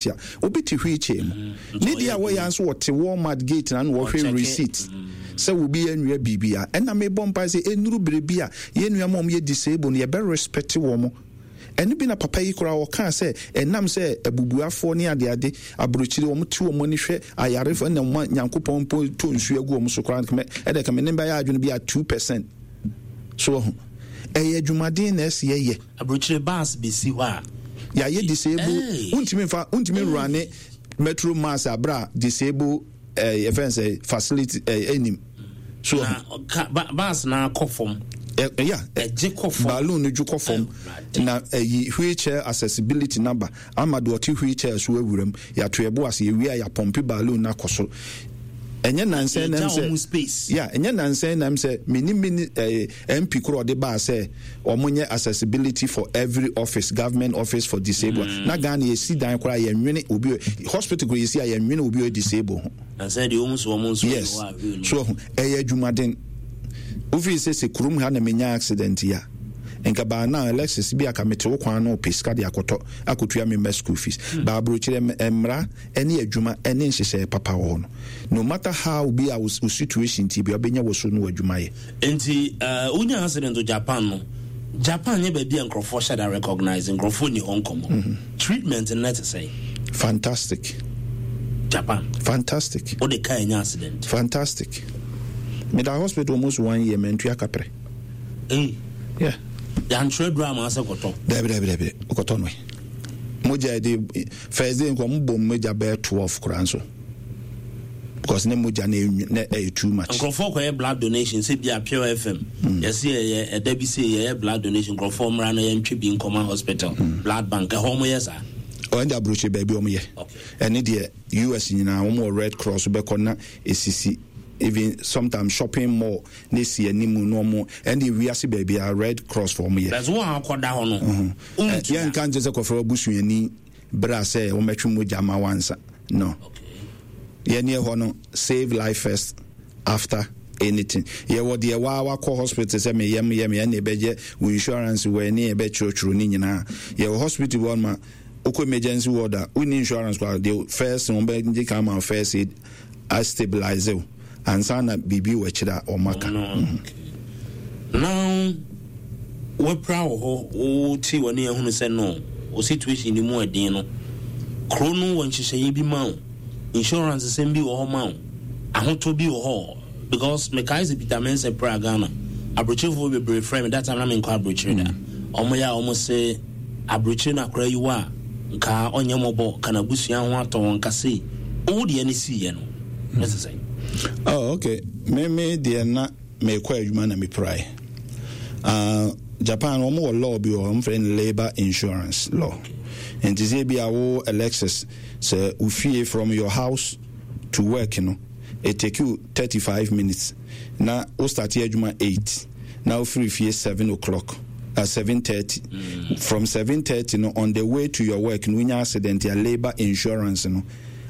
A obi te wheelchair mu ne deɛ a wɔyɛ nso wɔte Walmart gate na na wɔhwɛ receipt sɛ obi anwia biribi a. Ɛna mebɔ mpae sɛ ɛnuru bere bi a yɛn nua ma wɔn yɛ disable no, yɛbɛ respect wɔn. Ɛno bi na papa yi koraa ɔkaa sɛ ɛnam sɛ abubuafoɔ ne adeade aburokyire wɔn te wɔn ani hwɛ ayarefoɔ ɛna wɔn Nyankopɔn mpo tɔ nsuo agu wɔn so koraa, ɛdɛ kame ne bɛyɛ adwene bi a 2%. So ɔho ɛyɛ adwumaden na ɛsɛ yɛyɛ. Aburokyire bus besi hɔ a. Yɛayɛ disable, wontumi nfa, wontumi nrane metro mass abira disable ɛɛ yɛfɛn sɛ facility ɛɛ ɛnim. So na ka ba bus na akɔ fam. Ɛ ya ɛgye kɔ fam. Balloon no dwo kɔ fam na ɛyi wheelchair accessibility naba ama deɛ ɔte wheelchair so awura mu. Yɛato yɛbo ase, yɛwie a yɛapɔmpe balloon no akɔ soro. Ɛnyɛ nansɛn nam sɛ yeah, ɛnyɛ nansɛn nam sɛ mini mini eh, MP koro ɔde baa sɛ wɔn nyɛ accessibility for every office, government office for disabled. Na Ghana yɛsi dan koraa yɛnwene obi hospital koraa yɛsi a yɛnwene obi ɔyɛ disabled ho. Nansɛn deɛ wɔn nso wɔn nso yes so ɛyɛ adwumaden. Wofii sɛ sɛ kurom ha na menya accident yi a, nka baa now Alexis bi aka mete wo kwan no pɛ sika de akɔtɔ akɔtua me mma school fees. Baa aburokyerɛ mmara ne adwuma ne nhyehyɛe papa wɔ hɔ no, no matter how bi a wo situation ti bi a wobɛnya wɔ so no wɔ adwuma yɛ. Nti wonya accident wɔ Japan no, Japan nyɛ baabi a nkurɔfoɔ hyɛ da recognize, nkurɔfoɔ nni hɔ nkɔmmɔ. Treatment no te sɛn? Fantastic. Japan. Fantastic. Wode car nya accident. Fantastic. Meda hospital almost one year, mantua kaprɛ. Ei. Yeah. Yɛantwerɛ duro ama sɛ kɔtɔ. Dabi dabi dabi, wokɔtɔ no. Mogya de first day nka ɔmo bɔ mogya bɛyɛ 12 koraa nso. Because ne mogya na na ɛyɛ too much. Nkurɔfoɔ kɔyɛ blood donation sɛ bi a Pure FM. Yɛse yɛyɛ ɛda bi sei yɛyɛ blood donation, nkurɔfoɔ mmra na yɛntwe bi nkɔma hospital, blood bank, ɛhɔ ɔmo yɛ saa? Ɔno deɛ aburokyire baabi ɔmo yɛ. Ɛne deɛ US nyinaa ɔmo wɔ Red Cross bɛkɔ na esisi, even sometimes shopping mall na esi anim na ɔmo, ɛne deɛ wiase baabi a Red Cross fo ɔmo yɛ. But wo a ɔkɔda hɔ no, wontua. Yɛn nka nkyɛn sɛ kɔfrɛ w'abusuani bra sɛ wɔmɛtwe mogya ma wansa no. Yɛn neɛ hɔ no save life first after anything. Yɛwɔ deɛ waa wakɔ hospital sɛ me yam yɛ me ɛne ɛbɛgye wo insurance wɔ ɛne ɛbɛkyerɛkyerɛ ne nyinaa. Yɛwɔ hospital wɔ ma wokɔ emergency ward a wonni insurance koraa, deɛ first wɔn bɛgye kan ma first aid a stabilize wo ansa na biribi wɔ akyire a wɔn aka. Now wapira wɔ hɔ, wote w'ani ahunu sɛ no wo situation no mu ɛden no, kuro no wɔ nhyehyɛeɛ bi ma wo, insurance sɛm bi wɔ hɔ ma wo, ahotɔ bi wɔ hɔ. Because mekae sɛ Peter Mensah pira Ghana, aburokyerefoɔ bebree frɛ me, that time na menkɔ aburokyere da. Wɔn yɛ a wɔn se aburokyere na akora yi wɔ a nka ɔnyɛ mmɔbɔ, ka n'abusua ho atɔ wɔn, nka sei. Wo deɛ ne siiɛ no, ne sɛ sɛn? Oh, okay. Me deɛ na mekɔ adwuma na mepirae. Japan wɔn wɔ law bi wɔ hɔ, wɔn frɛ no labor insurance law. Nti sɛ ebi a wo Alexis sɛ wo fie from your house to work no, it take you 35 minutes na wo start adwuma 8 na wo firi fie 7 o'clock, 7:30. From 7:30 no on the way to your work no wonya accident a, labor insurance no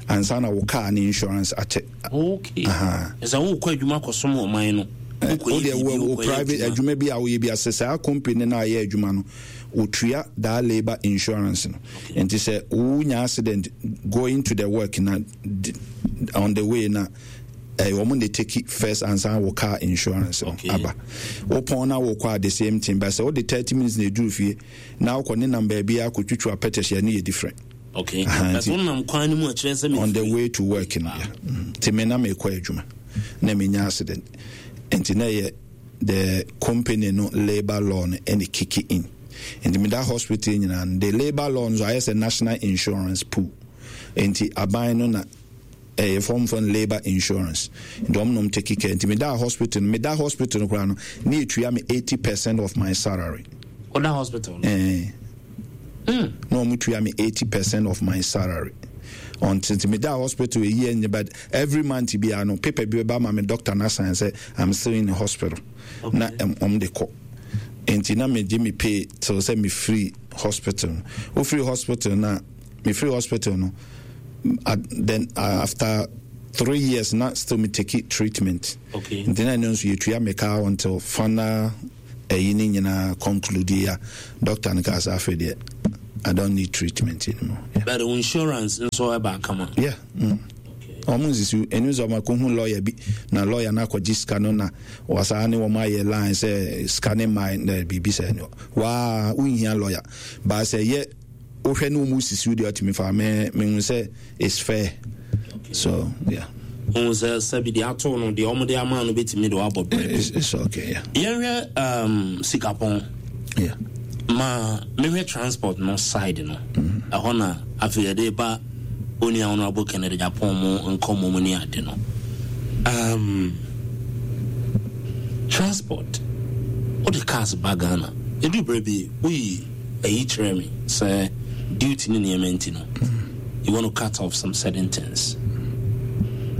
ansa na wo car ne insurance akyɛ. Okay. Sɛ wokɔ adwuma kɔsom ɔman no, wo deɛ wo private adwuma bi a woyɛ bi ase saa company no a yɛ adwuma no wotua daa labor insurance no. Nti sɛ wonya accident going to the work na on the way na ɛyɛ wɔn na take first ansa wo car insurance no aba. Wopɔn na wokɔ a the same thing, but sɛ wode 30 minutes na eduru fie na wokɔ ne nam baabi akɔtwitwa pɛtɛhyɛ no yɛ different. Okay. But wonam kwan no mu a kyerɛ sɛ on the way to work no yeah. Nti me na mekɔ adwuma na menya accident, nti na ɛyɛ the company no labour law no ɛna kick in. Nti meda hospital nyinaa no, the labour law no so ayɛ sɛ national insurance pool, nti aban no na ɛyɛ fɔm fɔm labour insurance, nti wɔn nom take care. Nti meda hospital no, meda hospital no koraa no ne etua me 80% of my salary. Ɔda hospital no? Na wɔn tua me 80% of my salary until nti meda hospital eyi ɛnyɛ, but every month biara no paper bi bɛba ma me doctor na sign sɛ I'm still in the hospital. Na wɔn de kɔ, nti na me gye me pay till sɛ me free hospital no. Wo free hospital na me free hospital no, then after 3 years na still me take treatment. Nti na ɛno nso yɛtua me ka until final ɛyi ne nyinaa conclude a doctor no kaa sɛ afei deɛ I don't need treatment anymore. Yeah. But insurance nso ɛba kama. Yeah. Wɔn nsisi ɛnu sɛ wɔn akɔhu lawyer bi na lawyer no akɔgye sika no na wasaa ne wɔn ayɛ line sɛ sika ne mmaa na biribi sɛ ɛnu waa wonhia lawyer baasa yɛ wohwɛ ne wɔn sisi deɛ ɔtumi fa mɛ mehu sɛ it's fair okay. So yeah. Ohun sɛ sɛbi deɛ ato no deɛ wɔn de ama no betumi de wabɔ brɛ. It's okay yeah. Yɛnhwɛ sikapɔn. Yeah. Ma mehwɛ transport no side no. Ɛhɔ na afei yɛde ba onua Honorable Kennedy Agyapong mo nkɔmmɔ mu ne ade no. Transport, wode cars ba Ghana. Ɛdu berɛ bi woyi ayi kyerɛ me sɛ duty ne nneɛma nti no, you want to cut off some certain things.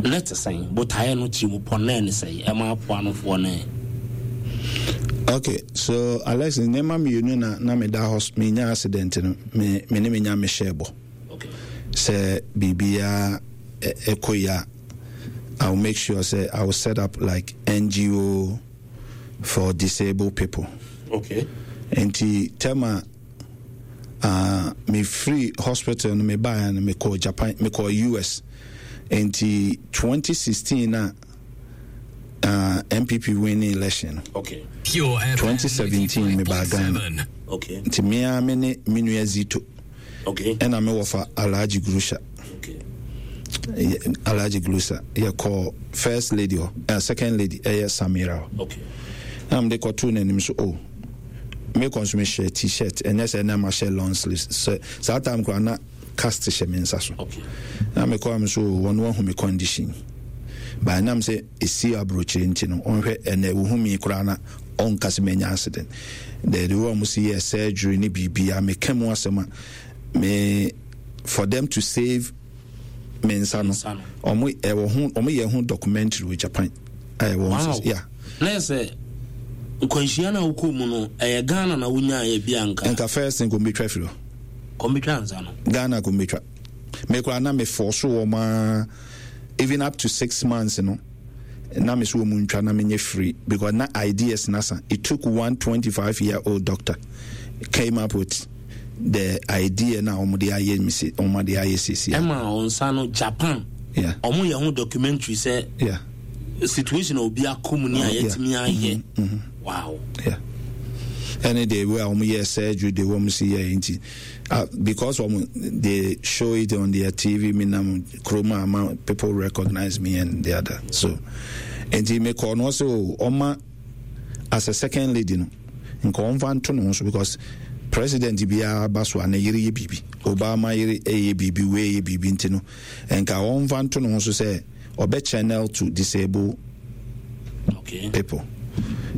Ne te sɛn? Botaeɛ no tirimupɔ no ne sɛn? Ɛma apoanofoɔ ne. Okay, so Alex, nneɛma mmienu na na meda hɔ menya accident no me me ne menya me hyɛ bɔ. Okay. Sɛ biribiara ɛkɔ yi a, I will make sure sɛ I will set up like NGO for disabled people. Okay. Nti tɛma me free hospital no me baeɛ no mekɔɔ Japan mekɔɔ US nti 2016 na NPP winning election no. Okay. 2017 me baa Ghana. Okay. Nti me ara me ne me nua Zito. Okay. Ɛna me wɔfa Alhaji Grusha. Okay. Alhaji Grusha yɛkɔɔ first lady hɔ second lady ɛyɛ Samira hɔ. Okay. Na mede kɔtoo n'anim so oh me kɔ nso mehyɛ t-shirt ɛnyɛ sɛ na mahyɛ long sleeves sɛ saa time koraa na cast hyɛ me nsa so. Okay. Na mekɔ am so wɔn wahu me condition. But ɛnam sɛ ɛsi aburokyire nti no ɔnhwɛ ɛnɛ wohu mi koraa na ɔnka sɛ manya accident. The the way wɔn si yɛ surgery ne biribiara meka mu asɛm a me for them to save me nsa no wɔn ɛwɔ ho wɔn yɛ ho documentary wɔ Japan a ɛwɔ Wow. yeah. Na yɛ sɛ nkwanhyia no a wokɔɔ mu no ɛyɛ Ghana na wonyaeɛ bi anka. Nka first thing kɔmbɛtwa firi hɔ. Kɔmbɛtwa nsa no. Ghana kɔmbɛtwa. Me koraa na me force wɔn aa even up to 6 months no na me so wɔn ntwa na menyɛ free because na ideas na sa. It took one 25-year-old doctor came up with the idea na wɔn de ayɛ me se wɔn de ayɛ sisi. Ɛma wɔn nsa no Japan. Yeah. Wɔn yɛ ho documentary sɛ. Yeah. Situation a obi akɔ mu ni a yɛtumi ayɛ. Wow. Yeah. Ɛne the way a wɔn yɛ surgery de wɔn si yɛ nti because wɔn they show it on their TV mi nam kurom a ama people recognize me and the other so nti me kɔ no ɔsɛ o ɔma as a second lady no nka ɔmfa nto ne ho so because president biara ba so a ne yere yɛ biribi, Obama yere yɛ biribi, wei yɛ biribi nti no nka ɔmfa nto ne ho so sɛ ɔbɛ channel to disable people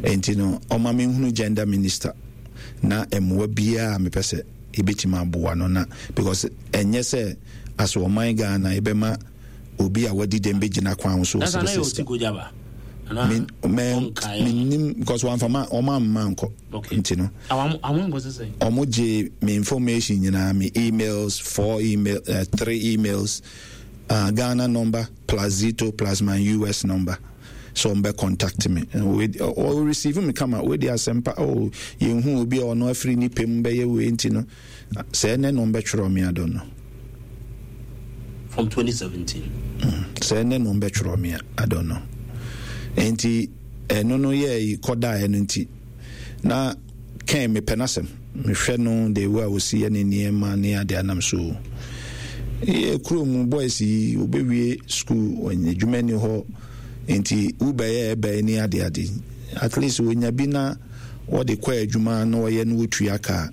nti no ɔma menhunu gender minister na mmoa biara a mepɛ sɛ yɛbɛtumi aboa no na because ɛnyɛ sɛ as ɔman Ghana yɛbɛma obi a wadi dɛm bɛgyina kwan ho so That's ɔsɛ anayɛ sɛ ɔti kojaba. Ana ɔnkae. Menim because wɔamfa ma ɔma mma nkɔ nti no Àwọn nkɔ sɛ sɛ. Ɔmo gye me information nyinaa, me emails, four email, three emails, Ghana number plus Zito plus my US number so ɔmo bɛ contact me. Ɔ receive me kama wei de asɛmpa oh yɛnhu obi a ɔno afiri nipa mu bɛyɛ wei nti no sɛ ɛnɛ na ɔmo bɛtwerɛ me, I don't know. From 2017. Sɛ ɛnɛ na ɔmo bɛtwerɛ me a, I don't know. Nti ɛno no yɛ kɔdaeɛ no nti na Ken mepɛ n'asɛm mehwɛ no the way a ɔsi yɛ ne nneɛma ne ade anam so yɛ kurom mu boys yi wɔbɛwie school wɔnyɛ adwuma ni hɔ nti wobɛyɛ ɛbɛyɛ ne ade ade at least wɔnya bi na wɔde kɔ adwuma na wɔyɛ no wɔtua kaa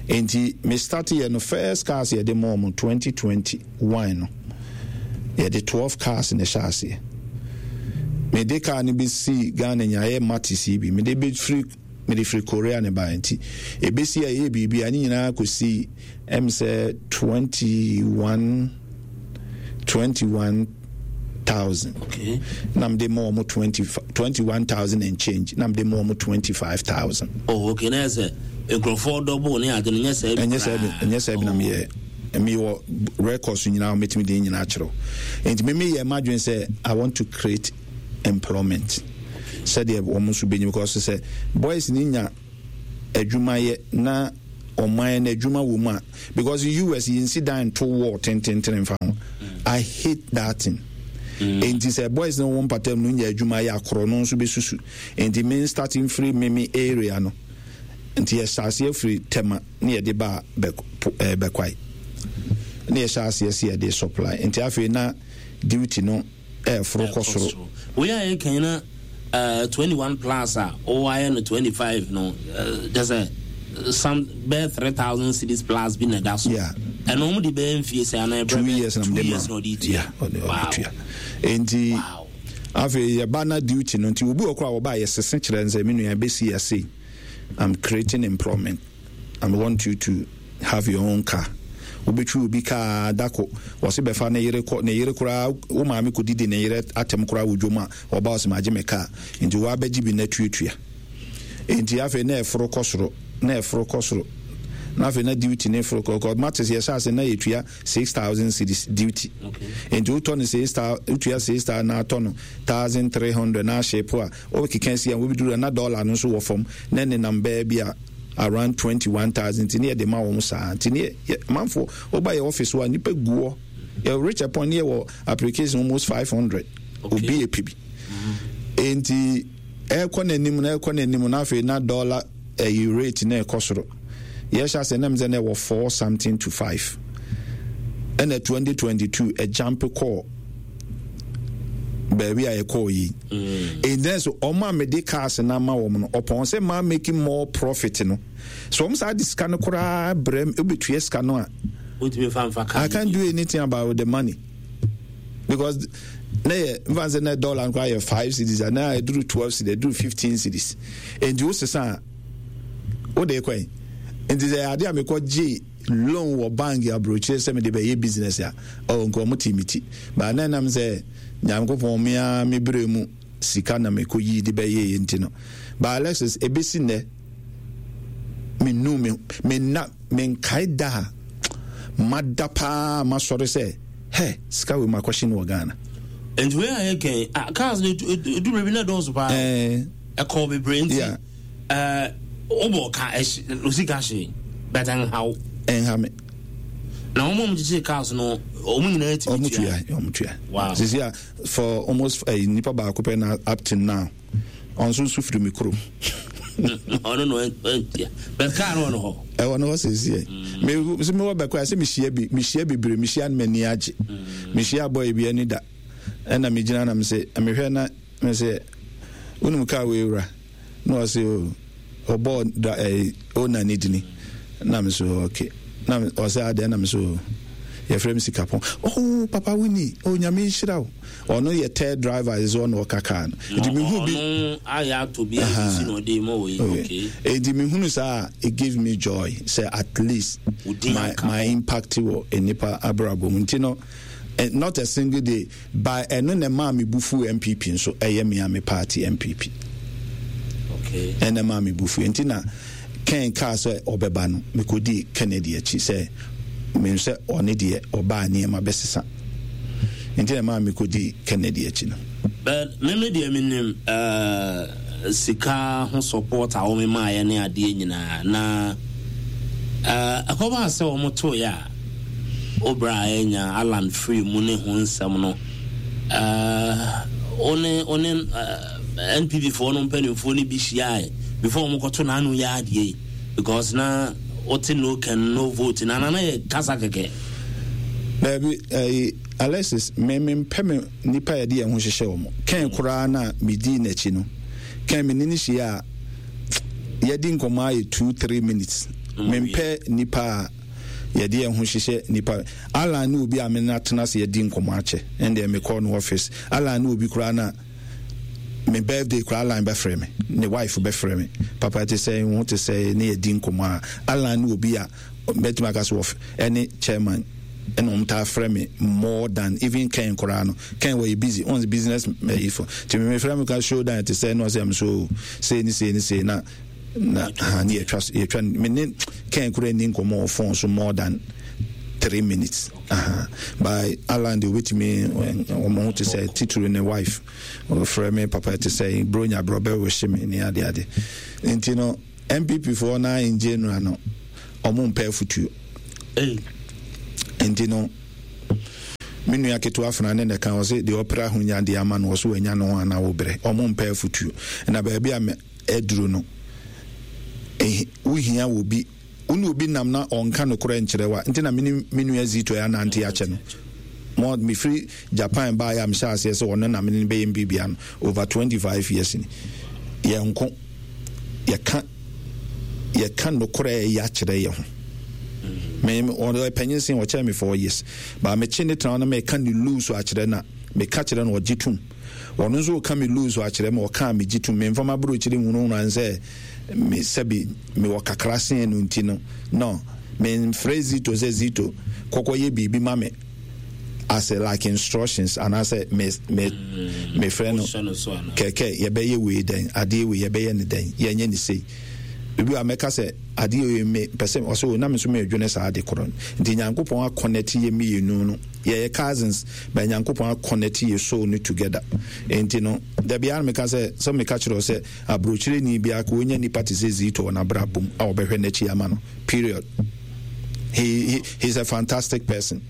nti me start yɛ no first cars yɛde ma wɔn 2021 no yɛde 12 cars na ɛhyɛ aseɛ. Mede car no bɛsi Ghana nyaeɛ Matis yi bi mede bɛfiri mede firi Korea ne baeɛ nti ɛbɛsi a ɛyɛ biribi a ne nyinaa kɔsi ɛm sɛ 21 21,000. Okay. Na mede ma wɔn 20 21,000 and change na mede ma wɔn 25,000. Oh, okay. Na yɛ sɛ nkurɔfoɔ dɔbo ne ade no nyɛ saa bi ɛnyɛ saa bi koraa. Ɛnyɛ saa bi na meyɛ meyɛ records nyinaa mɛtumi de nyinaa kyerɛw nti me meyɛ m'adwene sɛ I want to create employment sɛdeɛ wɔn nso bɛnya because sɛ boys ne nya adwumayɛ na ɔman no adwuma wɔ mu a, because US yɛnsi dan nto wall tententen mfa ho. I hate that thing. Enti sɛ boys no wɔ mpatam no nya adwuma yɛ akorɔ no nso bɛsusu. Enti me start mfiri me me area no. Nti yɛhyɛ aseɛ firi Tema ne yɛde baa Bɛkwae. Ne yɛhyɛ aseɛ sɛ yɛde supply. Nti afei na duty no ɛɛforo kɔ soro. Wei a yɛka yi na 21 plus a wɔayɛ no 25 no kyɛ sɛ some bɛyɛ 3000 cedis plus bi na ɛda so. Ɛno wɔn de bɛyɛ mfie sɛ anaa ɛbrɛ 2 years na 2 years na ɔde tua. Wow. Nti wow. Afei yɛba na duty no nti obi wɔ koro a wɔba a yɛsese kyerɛ nsɛ me nua ɛbɛsi ase. I'm creating employment. I want you to have your own car. Wobɛtwi obi kaa dako wɔse bɛfa ne yere kɔ ne yere koraa wo maame kɔdidi ne yere atɛm koraa wɔ dwom a ɔba ɔse magye me kaa nti woabɛgye bi na tuatua nti afei na ɛforo kɔ soro na ɛforo kɔ soro na afei na duty ne foro kɔ kɔ mates yɛhyɛ ase na yɛtua 6000 cedis duty nti wotɔ no 6000 wotua 6000 na atɔ no 1300 na ahyɛ po a Wokeka si a wobɛduru na dollar no nso wɔ fam na ɛnenam bɛɛ bi a around 21,000 nti ne yɛde ma wɔn saa nti ne yɛ manfoɔ woba yɛ office hɔ a nipa gu hɔ yɛ reach a point ne yɛwɔ application almost 500 obi yɛ pɛ bi nti ɛkɔ n'anim na ɛkɔ n'anim na afei na dollar ɛyi rate na ɛkɔ soro yɛhyɛ ase nam sɛ na ɛwɔ 4 something to 5 ɛna 2022 ɛjump kɔɔ baabi a yɛkɔɔ yi ɛnɛ so ɔmo a mede cars no ama wɔn no ɔpɔn sɛ maa making more profit no so ɔmo saa de sika no koraa brɛ m wobɛtua sika no a I can't do anything about the money because na yɛ nfa sɛ na dollar no koraa yɛ 5 cedis a na ɛduru 12 cedis, ɛduru 15 cedis. Nti wo sesa a wode kɔ yi nti sɛ ade a mekɔ gye loan wɔ bank aburokyire sɛ mede bɛyɛ business a, oh, nka ɔmo te me ti baa na ɛnam sɛ Nyankopɔn me ara me berɛ mu sika na mekɔ yii de bɛyɛɛ nti no. Ba Alexis, ɛbɛsi nnɛ mennu me menna menkae da a mada paa masɔre sɛ hɛ sika wei makɔhye no wɔ Ghana. Nti wei a yɛkɛn ah, cars no ɛdu baabi na ɛdɔɔso paa, ɛkɔɔ bebree nti yeah. Wobɔ ka osika hye but ɛnha wo. Ɛnha me. Na wɔn a wɔkyekyere cars no wɔn nyinaa tumi tua. Wɔn tua, wɔn tua. Wow. Sisi a for almost nipa baako pɛ na up to now ɔnso nso firi mi kurom. Ɔno no ɛntua but car no wɔ no hɔ. Ɛwɔ no hɔ sisi yɛ. Me sɛ mi wɔ bɛkɔ a sɛ mi hyia bi mi hyia bebree mi hyia no m'ani agye. Mi hyia boy bi ani da ɛna mi gyina na mi sɛ mehwɛ na mi sɛ wonim car wei wura. Na ɔse o ɔbɔɔ da ɛɛ owner ne dini na me so okay na ɔse adɛn na me so yɛfrɛ me sikapɔn. Oh papa wini, oh Nyame nhyira wo. Ɔno yɛ third driver ɛsɛ ɔno ɔka car no nti me hu bi ɔno ayɛ ato bi asisi na ɔde ma wɔ yi okay. Nti me hunu saa it give me joy sɛ at least my impact wɔ nnipa abrabɔ mu nti no not a single day. By ɛno na ɛmaa me bo fuu NPP nso, ɛyɛ me a me party NPP. Okay. Ɛna ɛmaa me bo fuu. Nti na Ken kaa sɛ ɔbɛba no, mekɔdii Kennedy akyi sɛ menim sɛ ɔne deɛ ɔbaa nneɛma bɛsesa. Nti na ɛmaa mekɔdii Kennedy akyi no. But me me deɛ menim uh, sika ho support a wɔn maaeɛ ne adeɛ nyinaa na uh, ɛkɔbaa sɛ wɔn toeɛ a Wo bra a anya Alan firi mu ne ho nsɛm no, wo ne wo ne NPP foɔ no mpanimfoɔ no bi hyiae before wɔn kɔto n'ano yɛ adeɛ yi because na wote no can no vote na na yɛ kasa kɛkɛ. Daabi, ɛyi Alexis, me me mpɛ me nipa yɛde yɛn ho hyehyɛ wɔn. Kɛn koraa na medii n'akyi no, kɛn me ne ne hyia a yɛdi nkɔmɔ ayɛ 2-3 minutes. Mempɛ nipa a yɛde yɛn ho hyehyɛ nipa. Alan ne obi a me ne atena ase yɛdi nkɔmɔ akyɛ. Ɛndeɛ mekɔɔ no office. Alan ne obi koraa na me birthday koraa Alan bɛfrɛ me, ne wife bɛfrɛ me, papa te sɛ ho te sɛ ne yɛdi nkɔmɔ a. Alan ne obi a mɛtumi aka so ɛne chairman ɛna wɔn taa frɛ me more than even Ken koraa no. Ken wɔyɛ busy, wɔn business ɛyi fo nti me frɛ me ka show dan te sɛ ɛna ɔsɛ ɛm so sei ne sei ne sei na ha ne yɛtwa me ne Ken koraa ni nkɔmɔ wɔ phone so more than 3 minutes. By Alan de obetumi wɔn ho te sɛ titiri ne wife ɔfrɛ me, papa te sɛ bronya brɔ bɛ wɔhyɛ me ne ade ade. Nti no NPP foɔ na in general no Ɔmo mpɛ afutuo. Nti no, me nua ketewa fena ne na ɛka ɔse deɛ ɔpere ahonya deɛ ama no ɔso wanya ne ho anaa wobrɛ. Ɔmo mpɛ afutuo. Na baabi a aduru no, wohia wɔ bi wo ne obi nam na ɔnka nokorɛ nkyerɛ wo a, nti na me ne me nua Zito anante akyɛ no. Mo mefiri Japan baeɛ a mehyɛ aseɛ sɛ ɔno na me ne no bɛyɛ mbiribia no over 25 years ni. Yɛnko, yɛka yɛka nokorɛ ɛyɛ akyerɛ yɛ ho. Me ɔyɛ panyin sen ɔkyɛn me 4 years. Ba mekye ne tena na meka ne loose akyerɛ na meka kyerɛ no ɔgye tom. Ɔno nso ɔka me loose akyerɛ me ɔka a megye tom. Memfa m'aburokyire nhunahuna nsɛ me sɛbi mewɔ kakra sen no nti no no memfrɛ Zito sɛ Zito kɔkɔ yɛ biribi ma me as a like instructions anaasɛ me me mefrɛ no kɛkɛ yɛbɛyɛ wei dɛn adeɛ wei yɛbɛyɛ ne dɛn yɛnyɛ ne sei ebi a mɛka sɛ adeɛ wei me pɛ sɛ ɔsɛ o na me nso medwene saa ade korɔ no nti Nyankopɔn akɔnɛte yɛ mmienu no yɛyɛ cousins but Nyankopɔn akɔnɛte yɛ soul no together nti no dabi ara meka sɛ sɛ meka kyerɛ wo sɛ Abrokyireni biako onya nipa te sɛ Zito wɔ n'abrabɔ mu a ɔbɛhwɛ n'akyi ama no. Period. He, he, he's a fantastic person.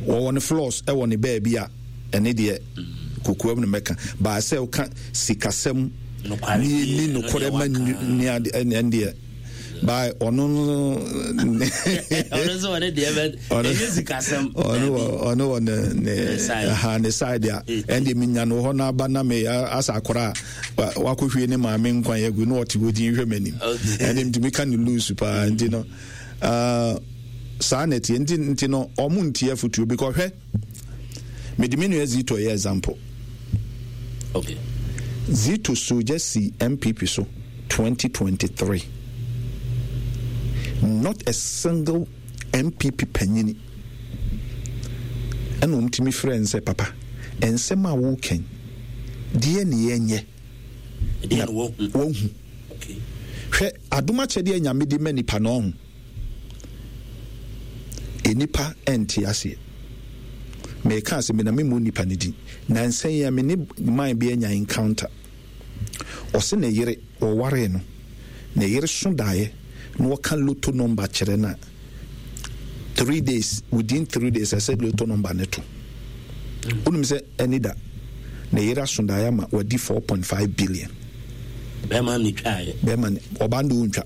Wɔwɔ ne flaws ɛwɔ ne baabi a ɛne deɛ kokoam no mɛka. Baa sɛ woka sikasɛm ne ni nokorɛ ma ni ade ɛne deɛ by ɔno no ɔno nso ɔne deɛ bɛ ɛnyɛ sikasɛm ɔno wɔ ɔno wɔ ne ne ha ne side a ɛnde menya no hɔ n'aba na me asa akora a wakɔhwie ne maame nkwan agu na ɔte hɔ din hwɛ m'anim ɛnde ntumi ka ne loose paa nti no saa na ɛteɛ nti nti no ɔmo ntie afotuo bi kɔhwɛ mede me nua Zito yɛ example okay. Zito soja si MPP so 2023 not a single MPP panyini ɛna wɔn tumi frɛ n sɛ papa nsɛm a wɔrekɛn deɛ ne yɛnyɛ na wɔhu hwɛ adom akyɛdeɛ Nyame de ma nipa na ɔho nnipa nte aseɛ. Meka asɛm bi na memmɔ nnipa no din. Nansa yi a me ne man bi anya encounter. Ɔse ne yere, wɔwaree no, ne yere so daeɛ na ɔka lotto number kyerɛ no a, 3 days, within 3 days ɛsɛ lotto number no to. Wonim sɛ ɛni da, ne yere aso daeɛ ama wadi 4.5 billion. Bɛrima ne twaeɛ. Bɛrima ne, ɔbaa no de ɔntwa.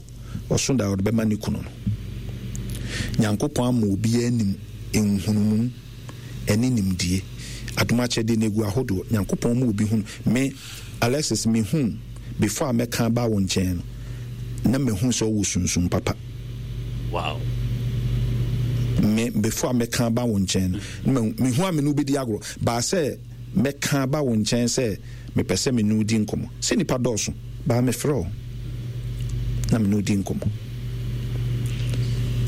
Ɔso da a ɔde bɛma ne kunu no. Nyankopɔn ama obiara nim nhunumu ɛne nimdie. Adom akyɛdeɛ no egu ahodoɔ. Nyankopɔn ma obi hunu. Me, Alexis, me hu before a mɛka aba wo nkyɛn no, na mehu sɛ ɔwɔ sunsum papa. Wow. Me, before a mɛka aba wo nkyɛn no, na mehu a me ne wo bɛdi agorɔ. Baa sɛ mɛka aba wo nkyɛn sɛ mepɛ sɛ me ne wo di nkɔmmɔ. Sɛ nnipa dɔɔso, baa mefrɛ wo na me ne wo di nkɔmmɔ.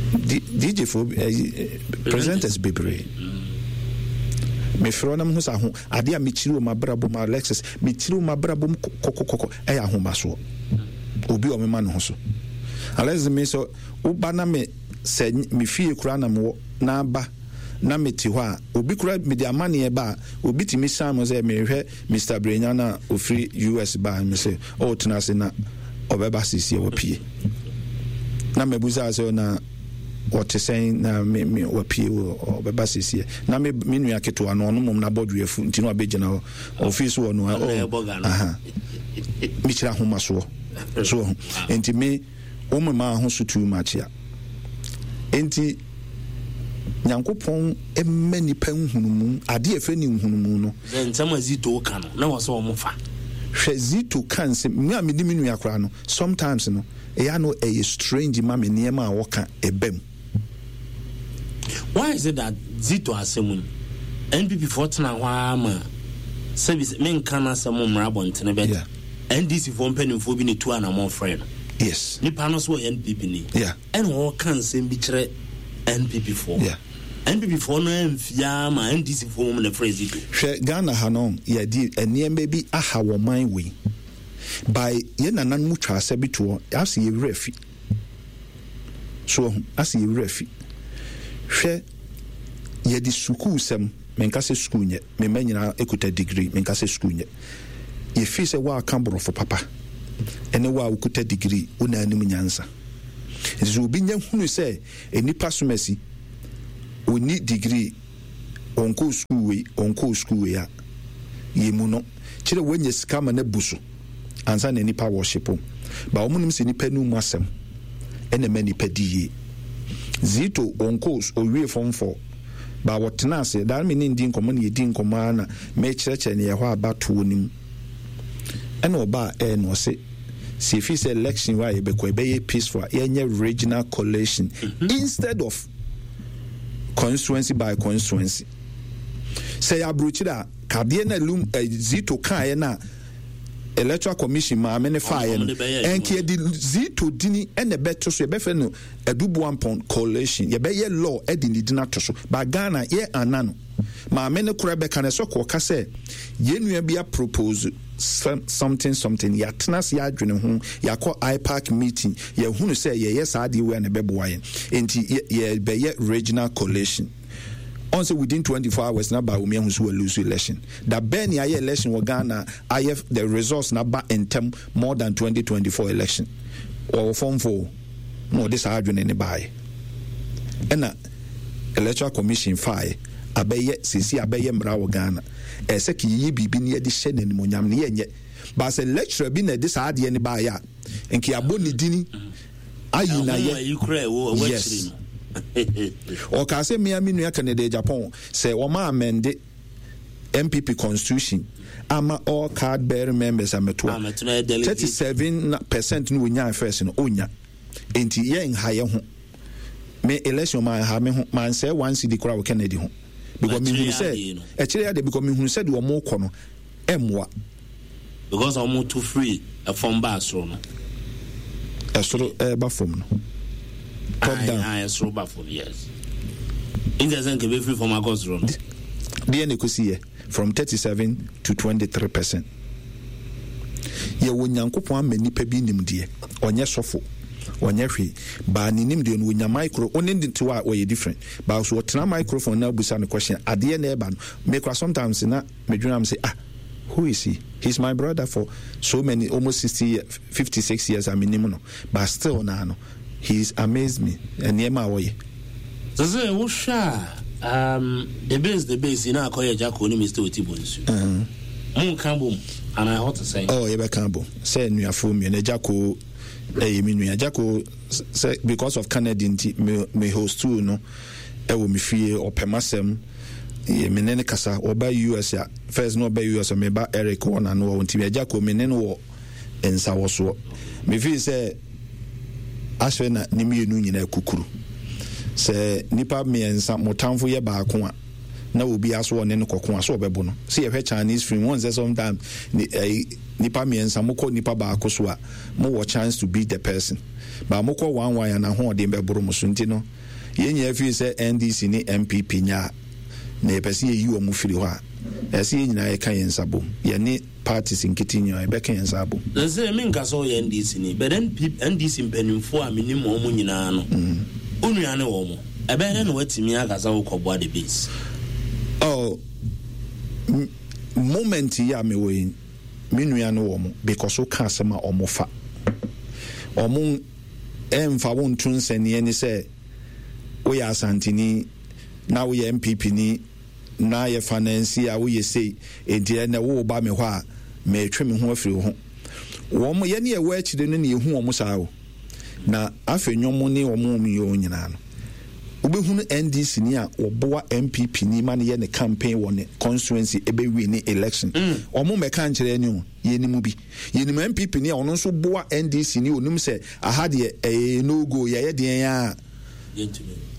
DJ fo eh, presenters bebree. Mefrɛ wo na mehu sɛ aho adeɛ a mekyiri wɔ m'abrabɔ mu Alexis, mekyiri wɔ m'abrabɔ mu kɔkɔkɔkɔ ɛyɛ ahomasoɔ. Obi a ɔmema ne ho so. Alexis me sɛ woba na me sɛ me fie koraa na mewɔ na aba na mete hɔ a obi koraa mede amanneɛ ba a obi tumi san mu sɛ mehwɛ Mister Brenya no a ɔfiri US baa no, mese, Oh, tena ase na ɔbɛba seesei, wapue. Na mabusaa sɛ, na ɔte sɛn na me, me, wapue, ɔbɛba seesei. Na me, me nua ketewa no, ɔno mmom n'abɔdwe afu, nti na wabɛgyina hɔ. Ɔfii so wɔ no, oh, aha. Mekyerɛ ahomasoɔ. So, nti me, Wo memaa ho so too much a. Enti Nyankopɔn mma nipa nhunumu, adeɛ a ɛfrɛ ne nhunumu no. Sɛ nsɛm a Zito ka no, na wɔ sɛ wɔn fa. Hwɛ Zito ka nsɛm, me a medi me nua koraa no, sometimes no, ɛyɛ a no ɛyɛ strange ma me nneɛma a ɔka ɛba mu. Why is it that Zito asɛm yi, NPP foɔ tena hɔ ara ma sɛbi sɛ menka n'asɛm mmra abɔntene but Yeah. NDC foɔ mpanimfoɔ bi na etu anamɔ frɛ no. Yes. Nipa no so ɔyɛ NPP ni. Yeah. Ɛna ɔreka nsɛm bi kyerɛ NPP foɔ. Yeah. NPP foɔ no amfie ara ma NDC foɔ mmom na ɛfrɛ Zito. Hwɛ Ghana ha no yɛde nneɛma bi aha wɔ man wei by yɛn nananom twa asɛ bi toɔ ase yɛ werɛ fi. So wahu? Ase yɛ werɛ afi. Hwɛ, yɛde sukuusɛm, menka sɛ sukuu nyɛ, me mma nyinaa kuta degree, menka sɛ sukuu nyɛ. Yɛfii sɛ woaka borɔfo papa, ɛne wo a wokuta degree, wo na anim nyansa. Nti sɛ obi nya hunu sɛ nnipa som asi, ɔnni degree, ɔnkɔɔ sukuu wei, ɔnkɔɔ sukuu wei a, yɛmmu no. Kyerɛ wanya sika ma no abu so ansa na nnipa worship wo. But wɔn nim sɛ nnipa anum mu asɛm ɛna ɛma nnipa di yie. Zito ɔnkɔɔ, ɔwie form 4, but ɔtena ase, daa me ne no di nkɔmmɔ na yɛdi nkɔmmɔ ara na mekyerɛkyerɛ no yɛhɔ abatoɔ no mu. Ɛna ɔbaa ɛɛ na ɔse sɛ efi sɛ election wɔ a yɛbɛkɔ ɛbɛyɛ peaceful a yɛnyɛ regional collation mm-hmm. instead of constituency by constituency. Sɛ yɛ aburokyire a kadeɛ na lum eh, Zito kaeɛ na electoral commission maame ne faeɛ no ɛnka yɛde Zito dini ɛna ɛbɛto so yɛbɛfrɛ no Aduboampɔn coalition yɛbɛyɛ law ɛde ne din ato so ba Ghana yɛ ana no Maame no koraa bɛka no, ɛsɛ kɔka sɛ yɛn nua bi apropose something something, yɛatena ase adwene ho, yɛakɔ IPAC meeting, yɛahunu sɛ yɛyɛ saa adeɛ wei a na ɛbɛboa yɛn. Enti yɛbɛyɛ regional collation. Ɔn sɛ within 24 hours na Bawumia ahu sɛ wa lose election. Da bɛn na yɛayɛ election wɔ Ghana a ayɛ the results na ba ntɛm more than 2024 election? Wɔwɔ form 4 na ɔde saa adwene no baeɛ. Ɛna Electoral Commission faeɛ abɛyɛ seesei abɛyɛ mmara wɔ Ghana. Ɛyɛ sɛ ka yɛyɛ biribi na yɛde hyɛ no animuonyam no yɛnyɛ. But sɛ lecturer bi na ɛde saa adeɛ no baeɛ a, nka yɛabɔ ne dini ayi na yɛ. Yes. Ɔkaa sɛ mmea me nua Kennedy Agyapong sɛ wɔma amende NPP constitution ama all card bearing members amɛto a 37% no wɔnyaa first no ɔnya. Enti yɛ nha yɛ ho. Me election ma nha me ho ma nsɛe one cedi koraa wɔ Kennedy ho. Because me hunu sɛ ɛkyerɛ adeɛ because me hunu sɛ deɛ wɔn kɔ no ɛmmoa. Because wɔn to free ɛfam ba soro no. Ɛsoro ɛba fam no. Top down. Ah, ɛsoro ba fam yes. Nti sɛ nka ebɛfiri fam akɔ soro no. Deɛ na ekosi yɛ. From 37 to 23%. Yɛwɔ Nyankopɔn ama nipa bi nimdeɛ. Ɔnyɛ sɔfo, ɔnyɛ hwee. But ne nimdeɛ no, onya micro, wo ne no te hɔ a, ɔyɛ different. But so ɔtena microphone na abusa no question, adeɛ na ɛba no, me kora sometimes na medwene am sɛ, ah, who is he? He's my brother for so many, almost 60 years, 56 years a menim no. But still naa no, He's amazed me nneɛma a ɔyɛ. Sese wohwɛ a um, the base the base yi na akɔyɛ Jacko ne Mister Oti Bonsu. Mo nka bom anaa ɛhɔ te sɛn? Oh, yɛbɛka bom sɛ nnuafoɔ mmienu. Jacko ɛyɛ me nua. Jacko sɛ because of Kennedy nti me me hostuu no ɛwɔ me fie ɔpɛ m'asɛm me ne no kasa ɔba US a first na ɔba US a meba Eric wɔ n'ano wɔ nti Jacko me ne no wɔ nsawɔsoɔ. Mefii sɛ asɛ na ne mmienu nyinaa kukuru. Sɛ nnipa mmiɛnsa, mo tamfo yɛ baako a, na obiara so ɔne no kɔko a, so ɔbɛbo no. Sɛ yɛhwɛ Chinese film, wɔn sɛ sometimes nnipa mmiɛnsa mokɔ nipa baako so a, mowɔ chance to beat the person. But mokɔ one one a, n'ahoɔden bɛboro mo so. Nti no, yɛn nyinaa fii sɛ NDC ne NPP nya a, na yɛpɛ sɛ yɛyi wɔn firi hɔ a, ɛsɛ yɛn nyinaa yɛka yɛn nsa bom. Yɛne parties nkete nyinaa yɛbɛka yɛn nsa abom. Sese me nka sɛ ɔyɛ NDC ni but NP, NDC mpanimfoɔ a menim wɔn nyinaa no wo nua ne wɔn ɛbɛyɛ dɛ na watumi aka sɛ wokɔboa the base. Oh, moment yi a mewɔ yi me nua ne wɔn because woka asɛm a wɔn fa wɔn ɛmfa wo nto nsɛnniɛ ne sɛ woyɛ Asanteni na woyɛ NPP ni. Na yɛ fanansi a woyɛ sei, enti ɛnnɛ woreba me hɔ a, meretwe me ho afiri wo ho. Wɔn, yɛne yɛwɔ akyire no na yɛhu wɔn saa o. Na afei nnwom ne wɔn a wɔyɛ wɔn nyinaa no, wobɛhunu NDC ni a wɔboa NPP ni ma no yɛ ne campaign wɔ ne constituency ɛbɛ win election. Wɔn mmɛka nkyerɛ yɛn o, yɛnim bi. Yɛnim NPP ni a ɔno nso boa NDC ni, ɔnim sɛ aha deɛ ɛyɛ no go, yɛyɛ deɛn a.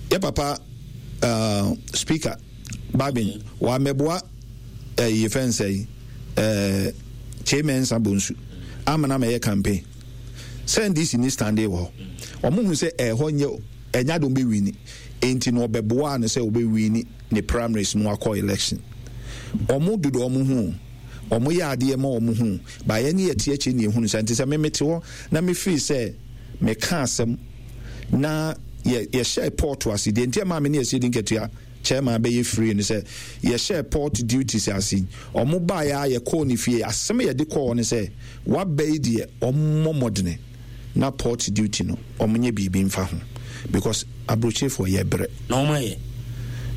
Yɛ papa uh, speaker Babin wamɛboa eh, yɛfɛ nsɛ yi eh, Kyei Mensah Bonsu amena mɛyɛ campaign sɛ NDC ni stande wɔ hɔ wɔn hu sɛ ɛhɔ nyɛ ɛnya de wɔn bɛ wini enti na ɔbɛboa no sɛ ɔbɛ wini ne primaries no akɔ election wɔn dodo wɔn ho wɔn yɛ adeɛ ma wɔn ho baayɛ ne yɛ te akyire ne ehunu sɛ nti sɛ meme te hɔ na mefiri sɛ meka asɛm na yɛ yɛhyɛɛ port ase deɛ nti ɛmaa me ne Asiedu Nketua chairman bɛyɛ free no sɛ yɛhyɛɛ port duties ase ɔmo baeɛ a yɛkɔɔ ne fie asɛm yɛde kɔɔ ne sɛ waba yi deɛ ɔmmɔ mmɔdene. na port duty no wɔn nyɛ biribi nfa ho because aburokyerefoɔ yɛ brɛ. Na wɔn ayɛ.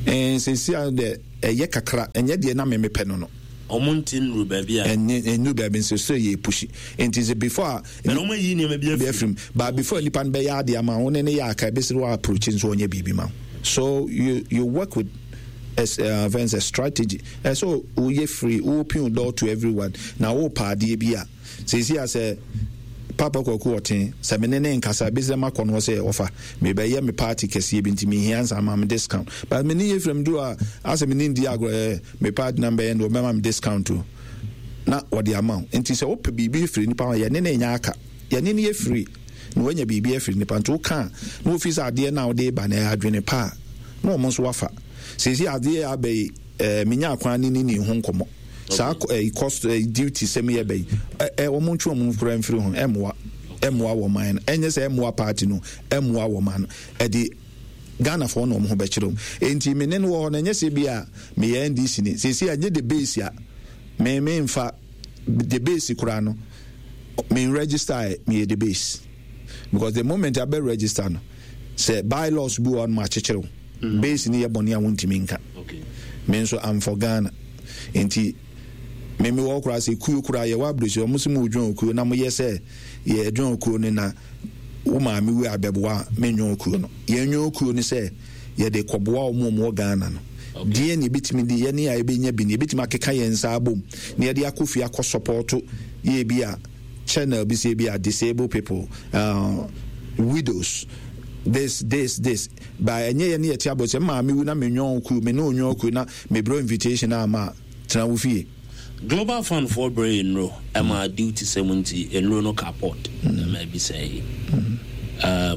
Ɛɛ sɛsi a dɛ ɛyɛ kakra ɛnyɛ deɛ na mɛmɛ pɛ no no. Wɔn nti nnuru baabi a. Ɛnyɛ nnuru baabi nso so yɛ pushi nti sɛ before a. Ɛna wɔn ayi nneɛma bi afiri mu. But before nipa no bɛyɛ adeɛ ama wo ne ne yɛ aka ebesiri wɔ approach nso ɔnyɛ biribi ma wo so you you work with as uh, a strategy ɛsɛ woyɛ free wo open door to everyone na wo pa adeɛ bi a. Seesei a sɛ Paapa Kwaku ɔte, sɛ me ne no nkasa a, ebesi dɛ makɔ no hɔ sɛ ɔfa, merebɛyɛ me party kɛseɛ bi nti mehia nsa ama me discount. But me ne Ephraim duru a, asɛ me ne no di agorɔ, eh, me party na mebɛyɛ no deɛ ɔbɛma me discount o. Na ɔde ama wo. Nti sɛ wopɛ biribi firi nipa hɔ a, yɛne no nyɛ aka. Yɛne no yɛ free na wanya biribi afiri nipa. Nti woka a, na wofi sɛ adeɛ no a wode reba no ɛyɛ adwene pa a, na wɔn nso wafa. Seesei adeɛ a aba yi, eh, menyaa kwan ne ne nii ho nkɔmmɔ. Saa eh, cost eh, duty sɛm yɛ bɛyi eh, eh, wɔn ntwe wɔn kura mfiri ho ɛmmoa ɛmmoa wɔn man no ɛnyɛ sɛ ɛmmoa party no ɛmmoa wɔn man no ɛde Ghanafoɔ na wɔn ho bɛkyerɛ wɔn enti me ne no wɔ hɔ no ɛnyɛ sɛ bi a meyɛ NDC ni sɛsi a ɛnyɛ the base a me me nfa the base koraa no me register meyɛ the base because the moment abɛ register no sɛ bylaws bi wɔ hɔ no ma akyekyere wo mm. Base no yɛ bɔne a wontumi nka. Me nso I'm for Ghana. Nti me me wɔ koraa sɛ kuo koraa yɛwɔ aburokyire wɔn sɛ mo dwon okuo na mo yɛ sɛ yɛ dwon okuo no na wo maame wu a bɛboa me nwon okuo no. Yɛn nwon okuo no sɛ yɛde kɔboa wɔn a wɔwɔ Ghana no. Deɛ na ebitumi de yɛne a ebenya bi no ebitumi akeka yɛn nsa abom na yɛde akɔ fie akɔ sɔpɔto yɛ bi a channel bi sɛ bi a disabled people, widows, this this this ba ɛnyɛ yɛ ne yɛte abɔ sɛ maame wu na me nyɔn kuo me ne onyɔn kuo na me brɛ invitation a ma tena wo fie. Global fund foɔ brɛ yɛ nnuro ɛma duty sɛm nti nnuro no ka port ɛma ebi sɛe.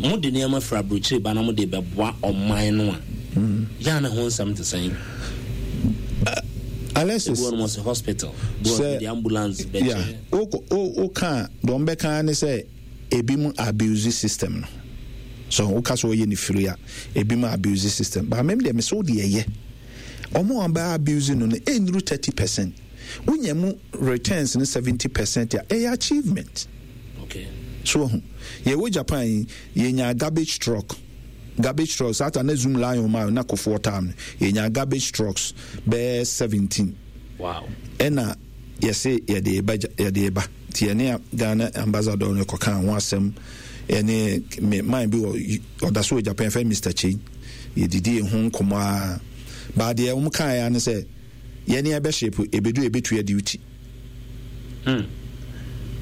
Mo de nneɛma firi abrokyire ba na mo de bɛboa ɔman no a yɛ a ne ho nsɛm te sɛn? Alexis, Ebi wɔ nom sɛ hospital, bi wɔ sɛ de ambulance bɛkyɛ. Yeah, wo wo ka deɛ wɔn bɛka ne sɛ ebi mu abuse system no. So wo ka sɛ ɔyɛ ne firi a, ebi mu abuse system. But mem deɛ me sɛ wo deɛ ɛyɛ. Wɔn a wɔbɛ abuse no no ɛnnuru 30%. Wonya mu returns no 70% a, ɛyɛ achievement. Okay. So wahu. Yɛwɔ Japan yi, yɛnya garbage truck. Garbage trucks, saa ta na Zoom Lion ma na Kofoɔ time no, yɛnya garbage trucks bɛyɛ 17. Wow. Ɛna yɛse yɛde ba yɛde ba. Nti yɛne Ghana ambassador no kɔkaa ho asɛm ɛne me man bi wɔ ɔda so wɔ Japan fɛ Mr. Chei. Yɛdidi ho nkɔmmɔ a. Baa deɛ wɔn kaeɛ ne sɛ yɛne yɛbɛhyepo ebedu ebetua duty. Hmm.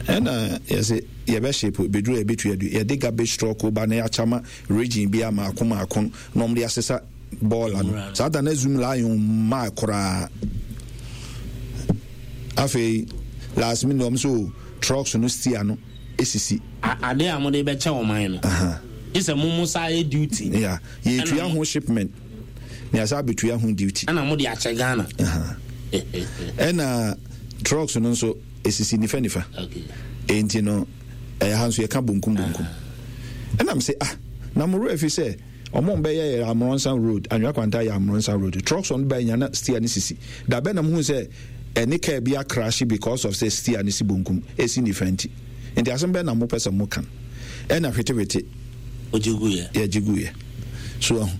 Ɛna yɛsɛ yɛbɛhyepo ebedu ebetua duty. Yɛde garbage truck ba na yɛakyama region bi a maako maako na wɔn de asesa bɔɔla no. Saa da na zoom lion maa koraa. Afei last minute wɔn so trucks no steer no esisi. Ade a wɔde bɛkyɛ ɔman no. Gye sɛ mo mo saa yɛ duty. Yeah, yɛtua ho shipment. Na yɛasa abɛtua ho duty. Ɛna mo de akyɛ Ghana. Ɛna trucks no nso esisi nifa nifa. Okay. Enti no ɛyɛ ha nso yɛka bonkum bonkum. Ɛna mo sɛ ah na mo werɛ fi sɛ ɔmo bɛyɛ yɛ Amronsa road Anwea Kwanta yɛ Amronsa road trucks ɔno bɛyɛ nya na steer ne sisi. Da bɛn na mo hu sɛ ɛne kaa bi akrahye because of sɛ steer ne si bonkum esi nifa nti. Nti asɛm bɛn na mo pɛ sɛ mo ka no. Ɛna hwetewete. Ogye guiɛ. Yɛgye guiɛ. So ahu.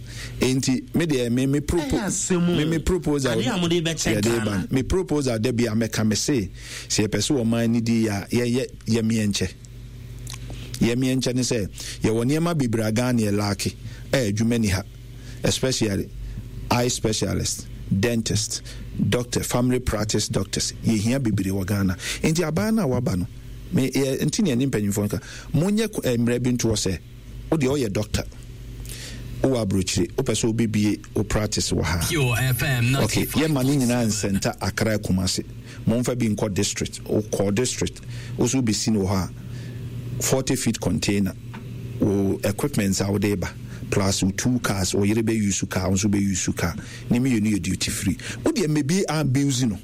Enti me deɛ me me propo me me proposal. Adeɛ a mo de bɛkyɛ Ghana. Me proposal da bi a mɛka me se sɛ yɛpɛ sɛ ɔman no di yɛ a yɛyɛ yɛmeɛ nkyɛ. Yɛmeɛ nkyɛ ne sɛ yɛwɔ nneɛma bebree a Ghana yɛ laake a adwuma ni ha especially eye specialist, dentist, doctor, family practice doctors yɛhia bebree wɔ Ghana. Enti aban no a waba no me yɛ nti ne ɛne mpanyinfoɔ no ka monyɛ mmerɛ bi ntoɔ sɛ wo deɛ ɔyɛ doctor wowɔ aburokyire wopɛ sɛ wobɛbie wo practice wɔ ha ok yɛma ne nyinaa nsɛnta Accra Kumasi momfa bi nkɔ district wokɔ district wo so wobɛsi no wɔ hɔ a 40 feet container wo equipment a wode ba plus wo two cars wo yere bɛ use car wo nso bɛ use car ne mmienu yɛ duty free wo deɛ mmɛbie abuse no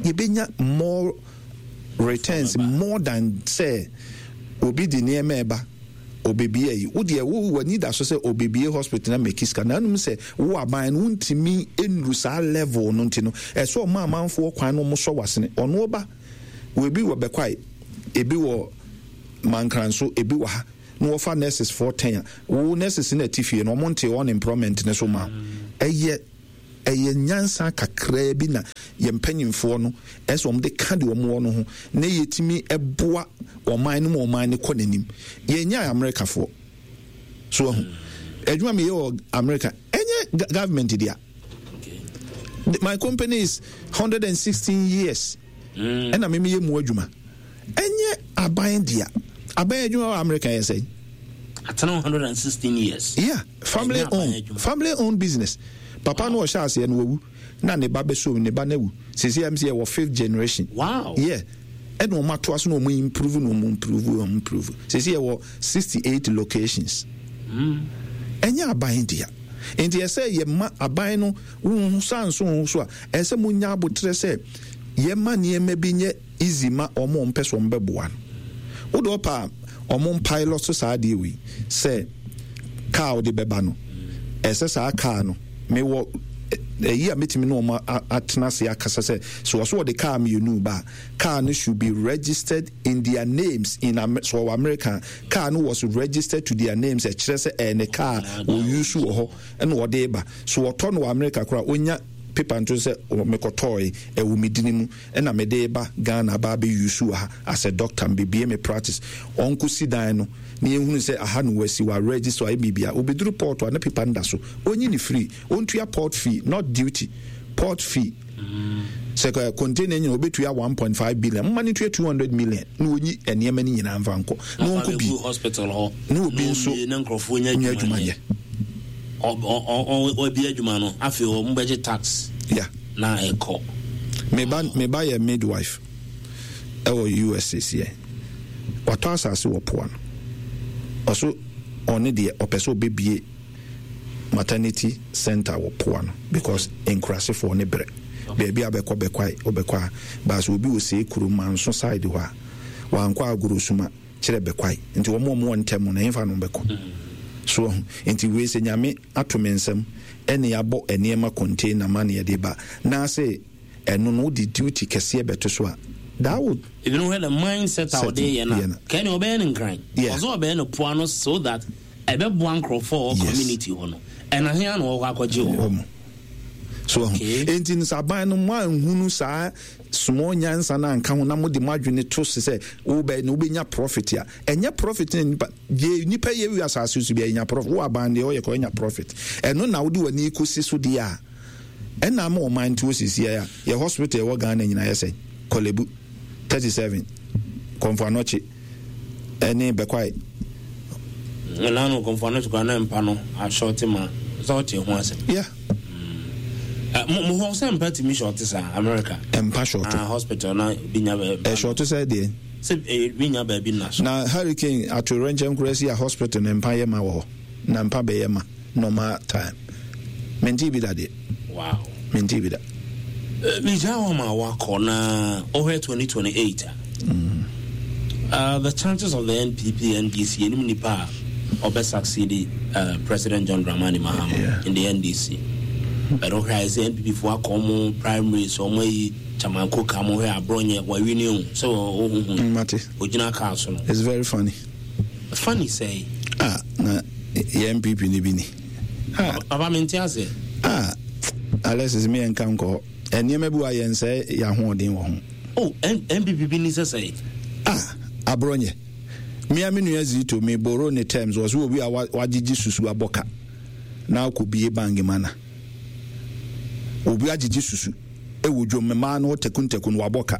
yɛbɛnya more returns more than sɛ obi de nneɛma ɛba obebie ayi wo deɛ wo w'ani da so sɛ obebie hospital na mɛki sika na anum sɛ wo aban no wontumi nnuru saa level no nti no ɛsɛ ɔma amanfoɔ kwan no ɔmo sɔ w'asene ɔno ɔba wɔ ebi wɔ bɛkwae ebi wɔ. Mankranso, ebi wɔ ha. Na wɔfa nurses foɔ tɛn a, wo nurses no ɛte fie no, wɔn nte unemployment no so ma wo. Ɛyɛ ɛyɛ nyansa kakraa bi na yɛn mpanyinfoɔ no ɛsɛ wɔn de ka deɛ wɔn wɔ no ho na yɛtumi ɛboa ɔman no ma ɔman no kɔ n'anim. Yɛnyɛ Amerikafoɔ. So ahu. Adwuma meyɛ wɔ Amerika ɛnyɛ government dea. My company is 116 years. Ɛna me meyɛ mu adwuma. Ɛnyɛ aban dea. Aban adwuma wɔ America yɛ sɛn? Atena 116 years. Yeah, family owned. Family owned business. Papa no ɔhyɛ aseɛ no wawu. Na ne ba bɛsom ne ba no awu. Sisi ɛm sɛ yɛwɔ fifth generation. Wow. Yeah. Ɛna wɔn atoa so na wɔn improve na wɔn improve wɔn improve. Sisi yɛwɔ 68 locations. Ɛnyɛ aban dea. Nti ɛsɛ yɛma aban no wo sa nso wo so a ɛsɛ mo nya abotrɛ sɛ yɛma nneɛma bi nyɛ easy ma wɔn a wɔmpɛ sɛ wɔbɛboa no. Wode ɔpɛ a wɔn pilot so saa adeɛ wei sɛ car wode bɛba no ɛsɛ saa car no mewɔ ɛyi a mɛtumi ne wɔn atena ase akasa sɛ so wɔso wɔde car mmienu ba a car no should be registered in their names in so wɔwɔ America car no was registered to their names ɛkyerɛ sɛ ɛyɛ ne car wɔyusu wɔ hɔ ɛna wɔde ba so wɔtɔ no wɔ America koraa ɔnya paper nto sɛ mekɔtɔɔe ɛwɔ me dini mu ɛna mede ba Ghana aba abɛ use wɔ ha as a doctor mebie me practice ɔnko si dan no na yɛhunu sɛ aha no wasi wa register ayɛ biribia obɛduru port a na paper no da so ɔnyi ne free ɔntua port fee not duty port fee sɛ container nyina ɔbɛtua 1.5 billion moma no tua 200 million na ɔnyi nneɛma no nyinaa mfa nkɔ na ɔnkɔ bi hospital hɔ na obi nso na nkurɔfoɔ nya adwuma nyɛ ɔbi adwuma no afei wɔn bɛgye tax yeah. na ɛkɔ me ba me ba yɛ midwife ɛwɔ US seɛ watɔ asase wɔ poa no ɔso ɔne deɛ ɔpɛ sɛ ɔbɛbie maternity center wɔ poa no because nkurasefoɔ ne brɛ baabi a bɛkɔ bɛkwae wobɛkɔ a baasa obi wɔ see kurom manso side hɔ a wankɔ agorɔ suma kyerɛ bɛkwae nti wɔn a wɔwɔ ntɛm no ɛhefa no bɛkɔ so ahu nti wei sɛ nyame ato me nsam ɛne abɔ nneɛma container ma ne yɛde ba na ase ɛno no wode duty kɛseɛ bɛto so a that would ebinom hwɛ the mindset a ɔde yɛ no a kɛne ɔbɛyɛ no nkran ɔsɛ ɔbɛyɛ no poa no so that ɛbɛboa nkurɔfoɔ wɔ community hɔ no ɛna hea na wɔkɔ akɔgye wɔ hɔ so ahu enti no sɛ aban no mo anhunu saa small nyansa no anka ho na mode mo adwene to se sɛ wobɛ na wobɛnya profit a ɛnyɛ profit na nipa deɛ nipa yɛ wi asase so bia ɛnya profit wo aban deɛ ɔyɛ kɔ ɛnya profit ɛno na wode w'ani kɔsi so deɛ a ɛna ama ɔman nti wɔ a yɛ hospital ɛwɔ Ghana nyinaa yɛ sɛ Korle 37 Komfo Anokye ɛne Bɛkwae. Ɛna no Komfo Anokye koraa na mpa no ashɔte ma sɛ ɔte ho asɛm. Yeah. Mm. Mo hɔ sɛ mpa tumi shɔte saa America. Mpa shɔte. Ah, hospital na bi nya baabi. Ɛshɔte sɛ deɛ. Sɛ bi nya baabi na so. Na hurricane atoyerɛnkyɛm koraa si a hospital na mpa yɛ ma wɔ hɔ. Na mpa bɛyɛ ma normal time. Mente bi da deɛ. Wow. Mente bi da. Megya hɔ ma wakɔ na ɔhwɛ 2028 a. Mm. The chances of the NPP NDC anim nipa a ɔbɛ succeed President John Dramani Mahama yeah. in the NDC. But ɔhwɛ ayɛ sɛ NPP fo akɔ ɔmo primaries ɔmo ayi Chairman Koka mo hwɛ aborɔnyɛ wawi ne o sɛ ɔhuhu. Mate. Ogyina kaa so no. It's very funny. Funny sɛe. Ah na yɛ NPP ni bi ni. Ah. Papa me nte ase. Ah Alexis me yɛn nka nkɔ hɔ. Nneɛma bi wɔ a yɛn sɛ yɛn ahoɔden wɔ ho. Oh NPP bi ni sɛ sɛe. Ah aborɔnyɛ. Me a me nua Zito me borrow ne terms wɔ so obi a wagyegye susu abɔ ka na akɔ bie bank ma na. Obi agyegye susu ɛwɔ dwom mmaa no takuntakun wabɔ ka.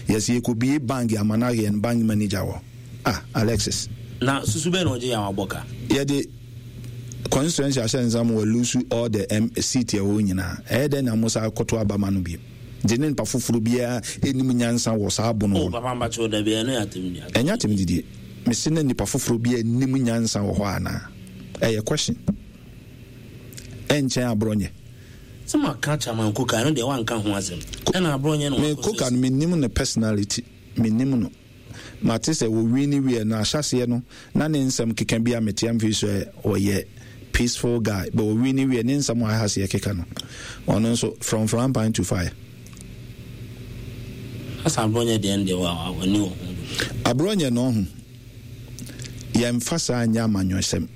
Yɛsɛ yɛkɔ bie bank ama na yɛn bank manager wɔ. Ah, Alexis. Na susu bɛn na ɔgye yɛ a wabɔ ka? Yɛde constituency ahyɛ nsa ma walusu all the M seat ɛwɔ nyinaa. Ɛyɛ dɛn na mo sa akɔto aba ma no bio? Nti ne nipa foforɔ biara ɛnim nyansa wɔ saa abono hɔ. Oh, papa mpakyɛw dabi ɛno yɛ atem di. Ɛnyɛ atem didie. Mese na nipa foforɔ biara nim nyansa wɔ hɔ anaa? Ɛyɛ question. Ɛnkyɛn aborɔ nyɛ. Sɛ maka Chairman Koka ɛno deɛ wanka ho asɛm. Ɛna aborɔ nyɛ no wakɔ. Me Koka no menim ne personality. Menim no. Mate sɛ wɔ wini wiɛ no ahyɛseɛ no na ne nsɛm keka bi a metea mfiri so ɛ ɔyɛ peaceful guy but wɔ wini wiɛ ne nsɛm a ahaseɛ keka no ɔno nso from frying pan to fire. Asa aborɔnyɛ deɛ no deɛ w'ani wɔ ho dodo. Aborɔnyɛ no ɔho. Yɛmfa saa nyɛ amanyɔsɛm.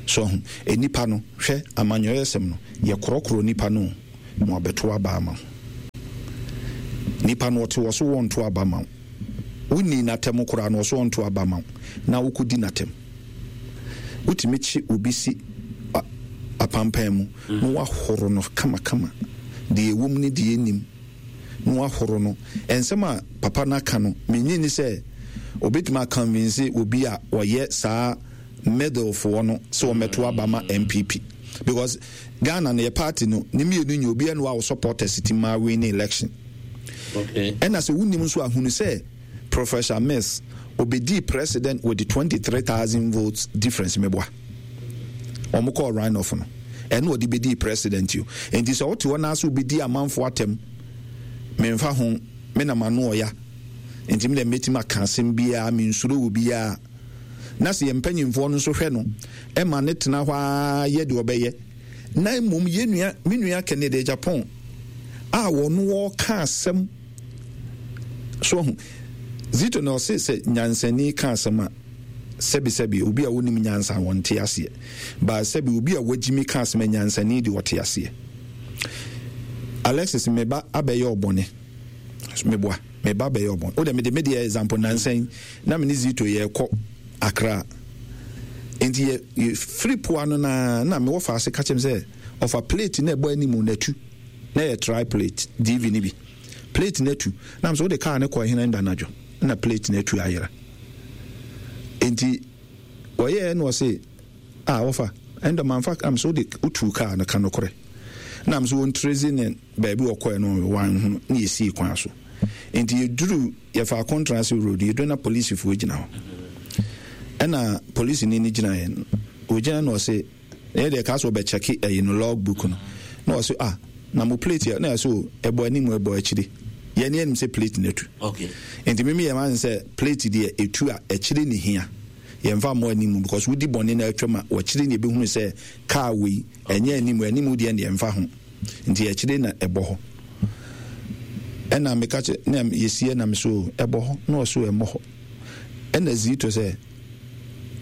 So ahu? Nnipa no, hwɛ, amanyɔyɛsɛm no, yɛkorɔkorɔ nnipa no o, ma wɔabɛto aba ama wo. Nipa no ɔte hɔ so wɔnto aba ma wo. Wonnii n'atɛm koraa no ɔso ɔnto aba ma wo na wokɔdi n'atɛm. Wotumi kye obi si apampan mu na wahoro no kamakama, deɛ ɛwom ne deɛ ɛnnim na wahoro no. Nsɛm a papa no aka no, mennye nni sɛ obɛtumi aconvince obi a ɔyɛ saa middle foɔ no sɛ wɔmmɛto aba ma NPP because Ghana no yɛ party no ne mmienu nyɛ obiara ni hɔ a wo supporters ti maa win election. Okay. Ɛna sɛ wonim nso a hunu sɛ Professor Mills obedii president with 23,000 votes difference meboa. Wɔn kɔɔ runoff no ɛna ɔde bedii president yo. Nti sɛ wote hɔ na ase wobedi amanfo atɛm memfa ho me na m'ano ɔya nti me deɛ mɛtumi aka asɛm biara mensuro wɔ biara. Na sɛ yɛn mpanyimfoɔ no nso hwɛ no ma no tena hɔ ara yɛ deɛ ɔbɛyɛ, na mmom yɛn nua, me nua Kennedy Agyapong a wɔn wɔka asɛm so ahu. Zito na ɔse sɛ nyansani ka asɛm a, sɛbisɛbi obi a wonim nyansa wɔnte aseɛ. Ba sɛbi obi a wagyimi ka asɛm a nyansani deɛ ɔte aseɛ. Alexis me ba abɛyɛ ɔbɔne. Meboa me ba bɛyɛ ɔbɔne. Wo deɛ mede me deɛ example nansa yi na me ne Zito yɛrekɔ Accra. Nti yɛ yɛfiri poa no na na mewɔ faase ka kyerɛ me sɛ ɔfa plate na ɛbɔ anim na atu na yɛ tri plate DV no bi plate no atu na me sɛ wode kaa no kɔ hena nda anadwo na plate no atu ayera. Nti wɔyɛɛ na ɔse ah wɔfa ɛndɔ manfa am sɛ wode wotuu kaa no ka nokorɛ na am sɛ wɔntrezi ne baabi wɔkɔɛ no wanhunu na yɛsii kwan so nti yɛduru Yɛfaa Kontrase road, yɛduru na polisifoɔ gyina hɔ. Ɛna polisini no gyina yɛn, ɔgyina na ɔse, yɛ deɛ kaa sɛ ɔbɛkyɛke ɛyi no log book no. Na ɔse, ah, na mo plate yɛ, na yɛ so ɛbɔ anim ɛbɔ akyiri. Yɛn ni anim sɛ plate no atu. Okay. Nti mimi yɛ maa sɛ plate deɛ ɛtu a akyiri ne hia. Yɛmfa mmɔ anim because wodi bɔne na atwam a wɔkyiri ne ɛbɛhunu sɛ kaa wei ɛnyɛ anim, anim deɛ deɛ ɛmfa ho. Nti akyire na ɛbɔ hɔ. Ɛna meka kyerɛ na yɛsiɛ na me so ɛbɔ hɔ na ɔso ɛmmɔ hɔ. Ɛna Zito sɛ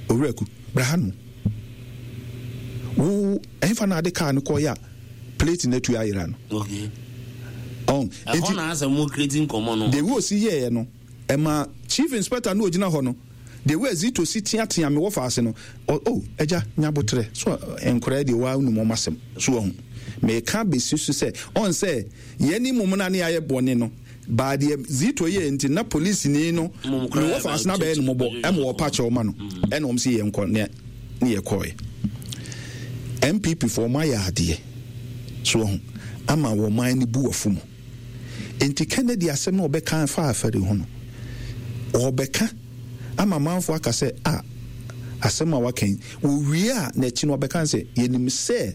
owura ku bra ha no. Wo ɛhefa na ade kaa no kɔyɛ a plate no atu ayera no. Okay. Ɔn ɛhɔ na asɛ mo create nkɔmɔ no. The way osi yɛɛ no ɛma chief inspector no ogyina hɔ no The way Zito si teatea me wɔ faase no, ɔ oh, agya, nya aboterɛ. So nkoraa deɛ waa wonim wɔn asɛm. So wahu? Meka bɛsi so sɛ, ɔn sɛ yɛne mmom na ne yɛayɛ bɔne no, baa deɛ Zito yɛɛ nti na polisini no me wɔ faase no abɛyɛ no mmɔbɔ ɛma wɔpa kyɛw ma no, ɛna wɔn se yɛnkɔ ne ne yɛkɔɔɛ. NPP foɔ wɔn ayɛ adeɛ. So wahu? Ama wɔn man no bu afu mu. Enti Kennedy asɛm no a ɔbɛka faa afɛre ho no, ɔrebɛka ama amanfoɔ aka sɛ, a, asɛm a waka yi, wɔwie a, n'akyi no ɔbɛka sɛ, yɛnim sɛ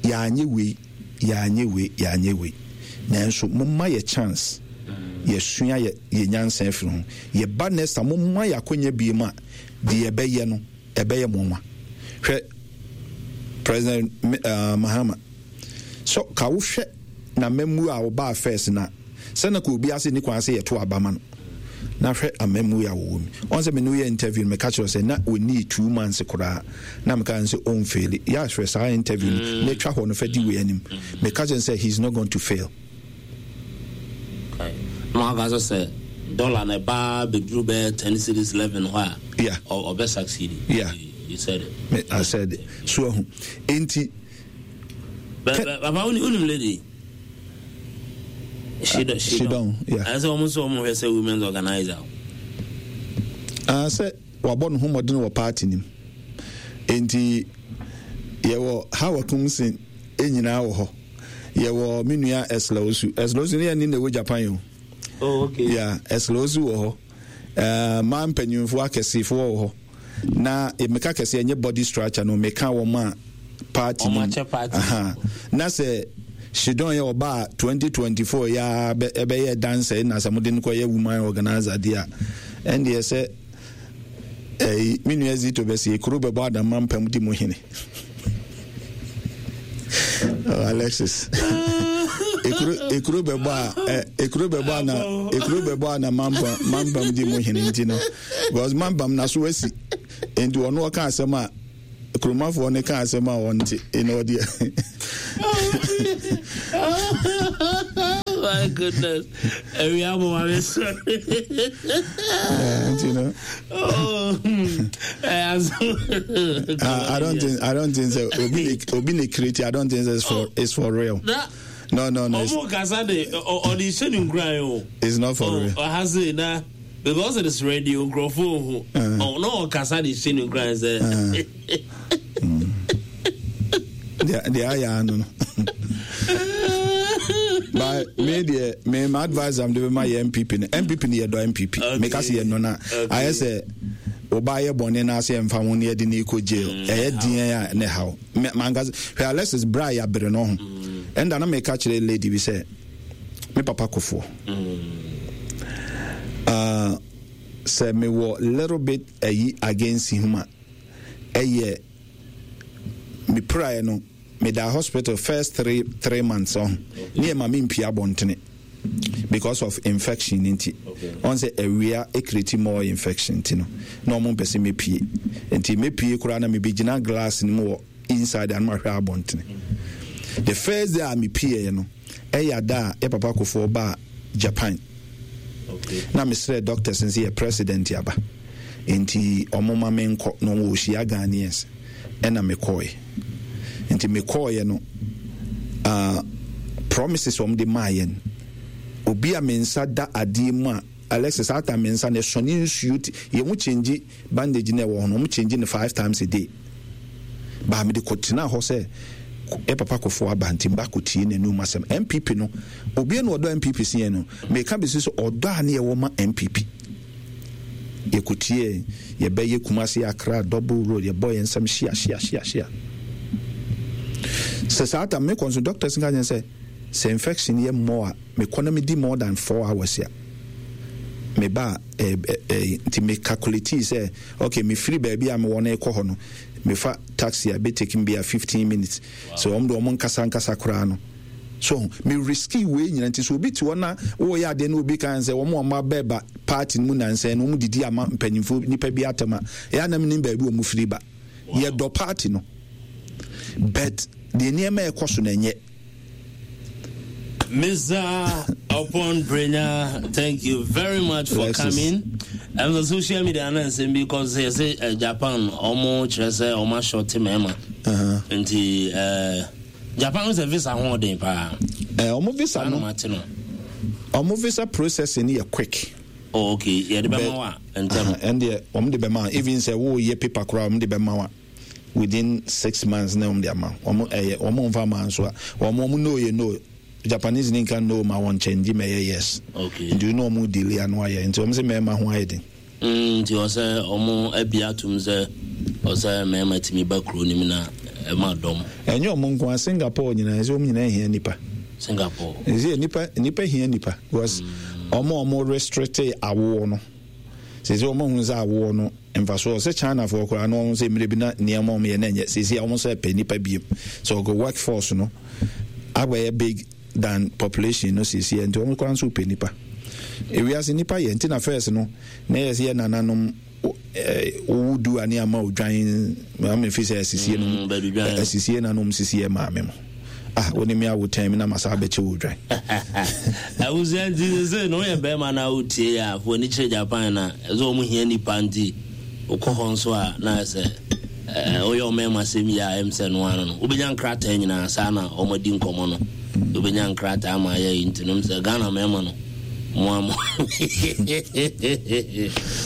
yɛanyɛ wei, yɛanyɛ wei, yɛanyɛ wei, nanso momma yɛ chance, yɛsua yɛ, yɛ nyansa afiri ho. Yɛba next time, momma yɛ akonya biem a, deɛ yɛbɛyɛ no, ɛbɛyɛ mo nwa. Hwɛ, President uh, Mahama, So ka wo hwɛ n'amammuo a ɔbaa first na sɛ na ka obi ase ni kwan sɛ yɛto aba ma no na hwɛ amammuo a wɔwɔ mu. Ɔn sɛ me ne woyɛ interview no meka kyerɛ sɛ na ɔnii 2 months koraa na meka sɛ ɔnfaili. Yɛ ahwɛ saa interview no na twa hɔ no fa di wei anim. Meka kyerɛ sɛ he is not going to fail. Na waka sɛ sɛ dollar na ɛbaa bɛduru bɛyɛ 10 cedis 11 hɔ a yeah. ɔbɛ succeed. Yeah. You said it. Me, I said it. So ahu. Enti Papa, wonim lady? She don't. She don't. Yeah. I said almost almost sɛ women's organizer. Ah, sɛ wabɔ ne ho mmɔden wɔ party nim. Enti yɛwɔ Hawa Kumsin nyinaa wɔ hɔ. Yɛwɔ me nua Esla Osu. Esla Osu ne yɛn ne na ɛwɔ Japan o. Oh, okay. Yeah, Esla Osu wɔ hɔ. Mmaa mpanyinfoɔ akɛsefoɔ wɔ hɔ. Na meka kɛseɛ ɛnyɛ body structure no meka wɔn a party no aha na sɛ Shidon yɛ ɔbaa 2024 yɛ ɛbɛyɛ dancer na sɛ mode no kɔyɛ woman organizer deɛ a ɛndeɛ sɛ ɛyi me nua Zito bɛsɛ ekuro bɛbɔ adama mpam di mu hene. Oh, Alexis. Ekuro ekuro bɛbɔ a ekuro bɛbɔ a na ekuro bɛbɔ a na mamba mambam di mu hene nti no because mambam na so asi. Nti ɔno ɔka asɛm a kuromafoɔ no ka asɛm a ɔnte ɛna ɔdeɛ. My goodness. Ewia mo ma me sɔre. Nti no. Oh, I don't think so. Obi ne obi ne create. I don't think it's for oh. it's for real. Na, No. Omo kasa de ɔde hyɛ ne nkuran o. It's not for real. Ɔha se na because it is radio nkurɔfo ohu. Ɔno ɔkasa de hyɛ ne nkuran sɛ. Deɛ ayɛ ano no. But me deɛ me my advice am de bɛma yɛ NPP no NPP no yɛdɔ NPP meka sɛ yɛnɔ no a ayɛ sɛ ɔba yɛ bɔne no ase ɛmfa ho ne yɛde ne kɔ jail ɛyɛ deɛn a ne haw manka hwɛ Alexis bra a yɛabere no ho ɛnda na meka kyerɛ lady bi sɛ me papa kofoɔ uh, sɛ mewɔ little bit ayi against him a ɛyɛ mepiraeɛ no medaa hospital first 3 months ɔho ne yɛ ma mempia abɔntene because of infection nti ɔn sɛ awia ɛcreate more infection nti no na ɔmo mpɛ sɛ mepie nti mepie koraa na mebɛgyina glass no mu wɔ inside ano ahwɛ abɔntene. The first day a mepieɛ no ɛyɛ ada a yɛ papa kofoɔ baa Japan na mesrɛ doctors nse yɛ president aba nti ɔmo ma menkɔ na ɔmo wɔhyia Ghanaians ɛna mekɔɛ. Nti mekɔɔyɛ no promises ɔmo de maa yɛn obi a me nsa da adeɛ mu a Alexis ata me nsa na ɛsɔne nsuo ti yɛn mo change bandage na ɛwɔ hɔ no ɔmo change no five times a day baa mede kɔtena hɔ sɛ ɛ papa kɔfoɔ aba nti mba kɔtie n'anum asɛm. NPP no obi na ɔdɔ NPP si yɛn no meka bɛsi sɛ ɔdɔ a ne yɛwɔ ma NPP yɛkɔtie yɛbɛyɛ Kumasi Accra double road yɛbɔ yɛn nsɛm hyia hyia hyia hyia sɛ saa tam mekɔ nso doctors nka kyɛn sɛ sɛ infection yɛ more a mekɔ na medi more than 4 hours a meba a nti me calculate sɛ okay mefiri baabi a mewɔ no kɔ hɔ no mefa taxi a bɛtake me bi a 15 minutes so wɔn de wɔn nkasa nkasa koraa no so me risky wei nyina. Nti sɛ obi te hɔ na wɔyɛ adeɛ na obi kan sɛ wɔn a wɔn abɛɛba party no mu nansɛn no wɔn didi ama mpanyinfoɔ nipa bi atɛm a ɛyɛ anam nim baabi wɔn firi ba. Yɛdɔ party no but deɛ nneɛma ɛkɔ so na ɛnyɛ. Mr. Oppong Brenya, thank you very much for Alexis. Coming. And the social media announcement because they say Japan, ɔmo kyerɛ sɛ ɔmo ahyɛ mmarima. Nti Japan sɛ visa ho ɔden paa. Ɔmo visa no, mate no. Ɔmo visa processing yɛ quick. Oh, okay. Yɛde bɛma wa ntɛm. Ɛndeɛ ɔmo de bɛma even sɛ wɔɔyɛ paper koraa ɔmo de bɛma wa within 6 months na ɔmo de ama ɔmo ɛyɛ ɔmo nfa ma nso a ɔmo no yɛ no Japanese ni nka no ma wɔn kyɛngye ma ɛyɛ yes. Nti no ɔmo delay ano ayɛ nti ɔmo sɛ mɛɛma ho ayɛ den. Nti ɔsɛ ɔmo abi atum sɛ ɔsɛ mmarima tumi ba kuro no mu na ɛma dɔm. Ɛnyɛ ɔmo nko a Singapore nyinaa ɛsɛ ɔmo nyinaa hia nipa. Singapore. Ɛsɛ nipa hia nipa because ɔmo restrict awoɔ no sɛ ɔmo ahunu sɛ awoɔ no mfasoɔ sɛ Chinafoɔ koraa na ɔmo sɛ mmerɛ bi na nneɛma ɔmo yɛ na ɛnyɛ sɛsɛ ɔmo sɛ pɛ nipa biem so ɔkɔ workforce no abɛyɛ big than population no sɛsɛ nti ɔmo koraa nso pɛ nipa ewiase nipa yɛ nti na first no na yɛ sɛ yɛ nananom wowu du a ne ama odwan ama fi sɛ asisie no asisie nanom sisie maame mo ah wo ne me awo tɛn mi na masa abɛkyɛ wo odwan. Abusua nti sɛ na woyɛ bɛrima na wotie yɛ a fo ani kyerɛ Japan na ɛsɛ wɔn hia nipa nti wokɔ hɔ nso a na sɛ woyɛ ɔmɛɛma sɛm yi a ɛm sɛ no ano no wobɛnya nkrataa nyinaa saa na wɔn adi nkɔmmɔ no wobɛnya nkrataa ama ayɛ yi nti nom sɛ Ghana mɛɛma no mo amo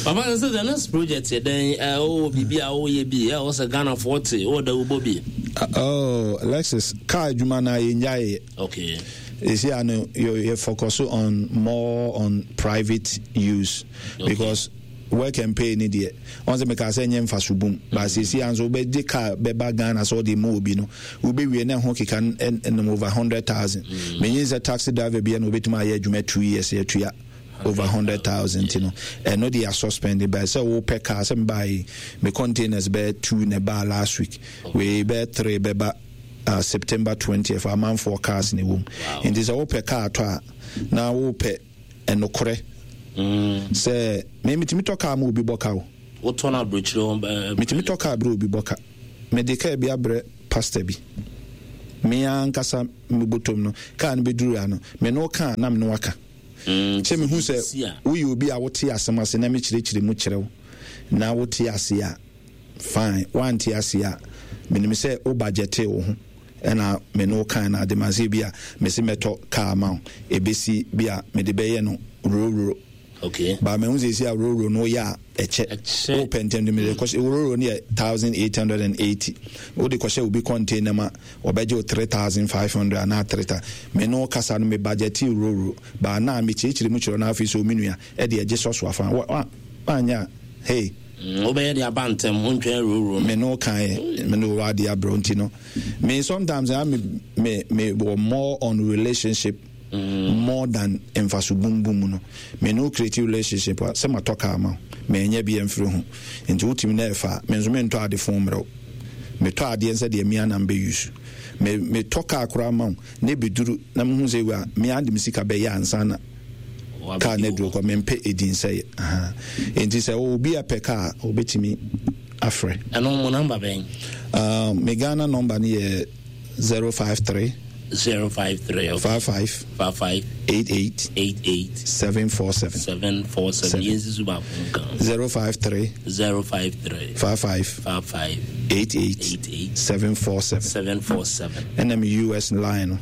papa sɛ the next project yɛ dɛn wowɔ biribi a woyɛ bi ɛwɔ sɛ Ghanafoɔ te wowɔ dawubɔ bi? Oh, Lexus car adwuma no a yɛnyaeɛ. Ɛsi a no yɛ focus on more on private use because work and pay ni deɛ ɔn sɛ meka sɛ nyɛ mfaso bum ba sɛsi a nso wobɛgye car bɛba Ghana sɛ ɔde ma obi no wobɛwie na ɛho keka nom over 100,000. Menyin sɛ taxi driver bia na wobɛtumi ayɛ adwuma 2 years yɛtua over 100,000 nti no ɛno de yɛasuspend ba sɛ wopɛ car sɛ mebae me containers bɛyɛ two na ɛbaa last week wei bɛyɛ three bɛba September 20th amanfoɔ cars na ɛwɔ mu nti sɛ wopɛ car tɔ a na wopɛ ɛnokorɛ sɛ me metumi tɔ car ma obi bɔ car o. Wotɔ no aburokyire hɔ ɛɛ. Metumi tɔ kaa brɛ obi bɔ ka. Mede kaa bi abrɛ pastor bi. Me ankasa me bɔtɔm no, kaa no bɛduru ha no, me ne wo ka a na me ne wo aka. Mm, Sɛ mehu sɛ woyɛ obi a wote asɛm ase na mekyerɛkyerɛ mu kyerɛ wo na wote ase a, fine. Woante ase a, menim sɛ wo budgetee wo ho ɛna me ne wo kae no ade ma sɛ bi a mese mɛtɔ kaa ma wo, ɛbɛsi bi a mede bɛyɛ no rororo. Okay. Ba mehu sɛ ɛsi a rororo no woyɛ a ɛkyɛ. Ɛkyɛ. Wopɛ ntɛm de mede kɔhyɛ rororo no yɛ 1880. Wode kɔhyɛ obi container mu a ɔbɛgye wo 3500 anaa 3000. Me ne wo kasa no me budgetee rororo. Ba na mekyerɛkyerɛ mu kyerɛ no afei sɛ omi nua ɛde ɛgye sɔ so afa. Woanyɛ a hey. Mm, wobɛyɛ de aba ntɛm, wontwɛn rororo no. Me ne wo kaeɛ, me ne wo ade abrɛ nti no. Me sometimes I me me me wɔ more on relationship more than mfaso bumbum no. Me ne wo create relationship a, sɛ matɔ car ma wo, manya bi amfiri ho. Nti wotumi na ɛfa a, me nso mentɔ ade fon mmerɛ wo. Metɔ adeɛ nsɛ deɛ me ara na mebɛ use. Me metɔ car koraa ma wo na ɛbɛduru na mehu sɛ wei a, me ara de me sika bɛyɛ ansa na car no aduru kɔ. Mempɛ ɛdin sɛeɛ. Aha. Nti sɛ obi a pɛ car a, obɛtumi afrɛ. Ɛno mo number bɛn? Me Ghana number no yɛ 053. 053 okay. 55. 55. 88. 88. 747. 747. Yɛn nsi so baako nka. 053. 053. 55. 55. 88. 88. 747. 747. Ɛna me US line no.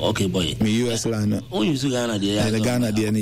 Okay boy. Me US line no. O use Ghana deɛ. Ɛna Ghana deɛ no yɛ.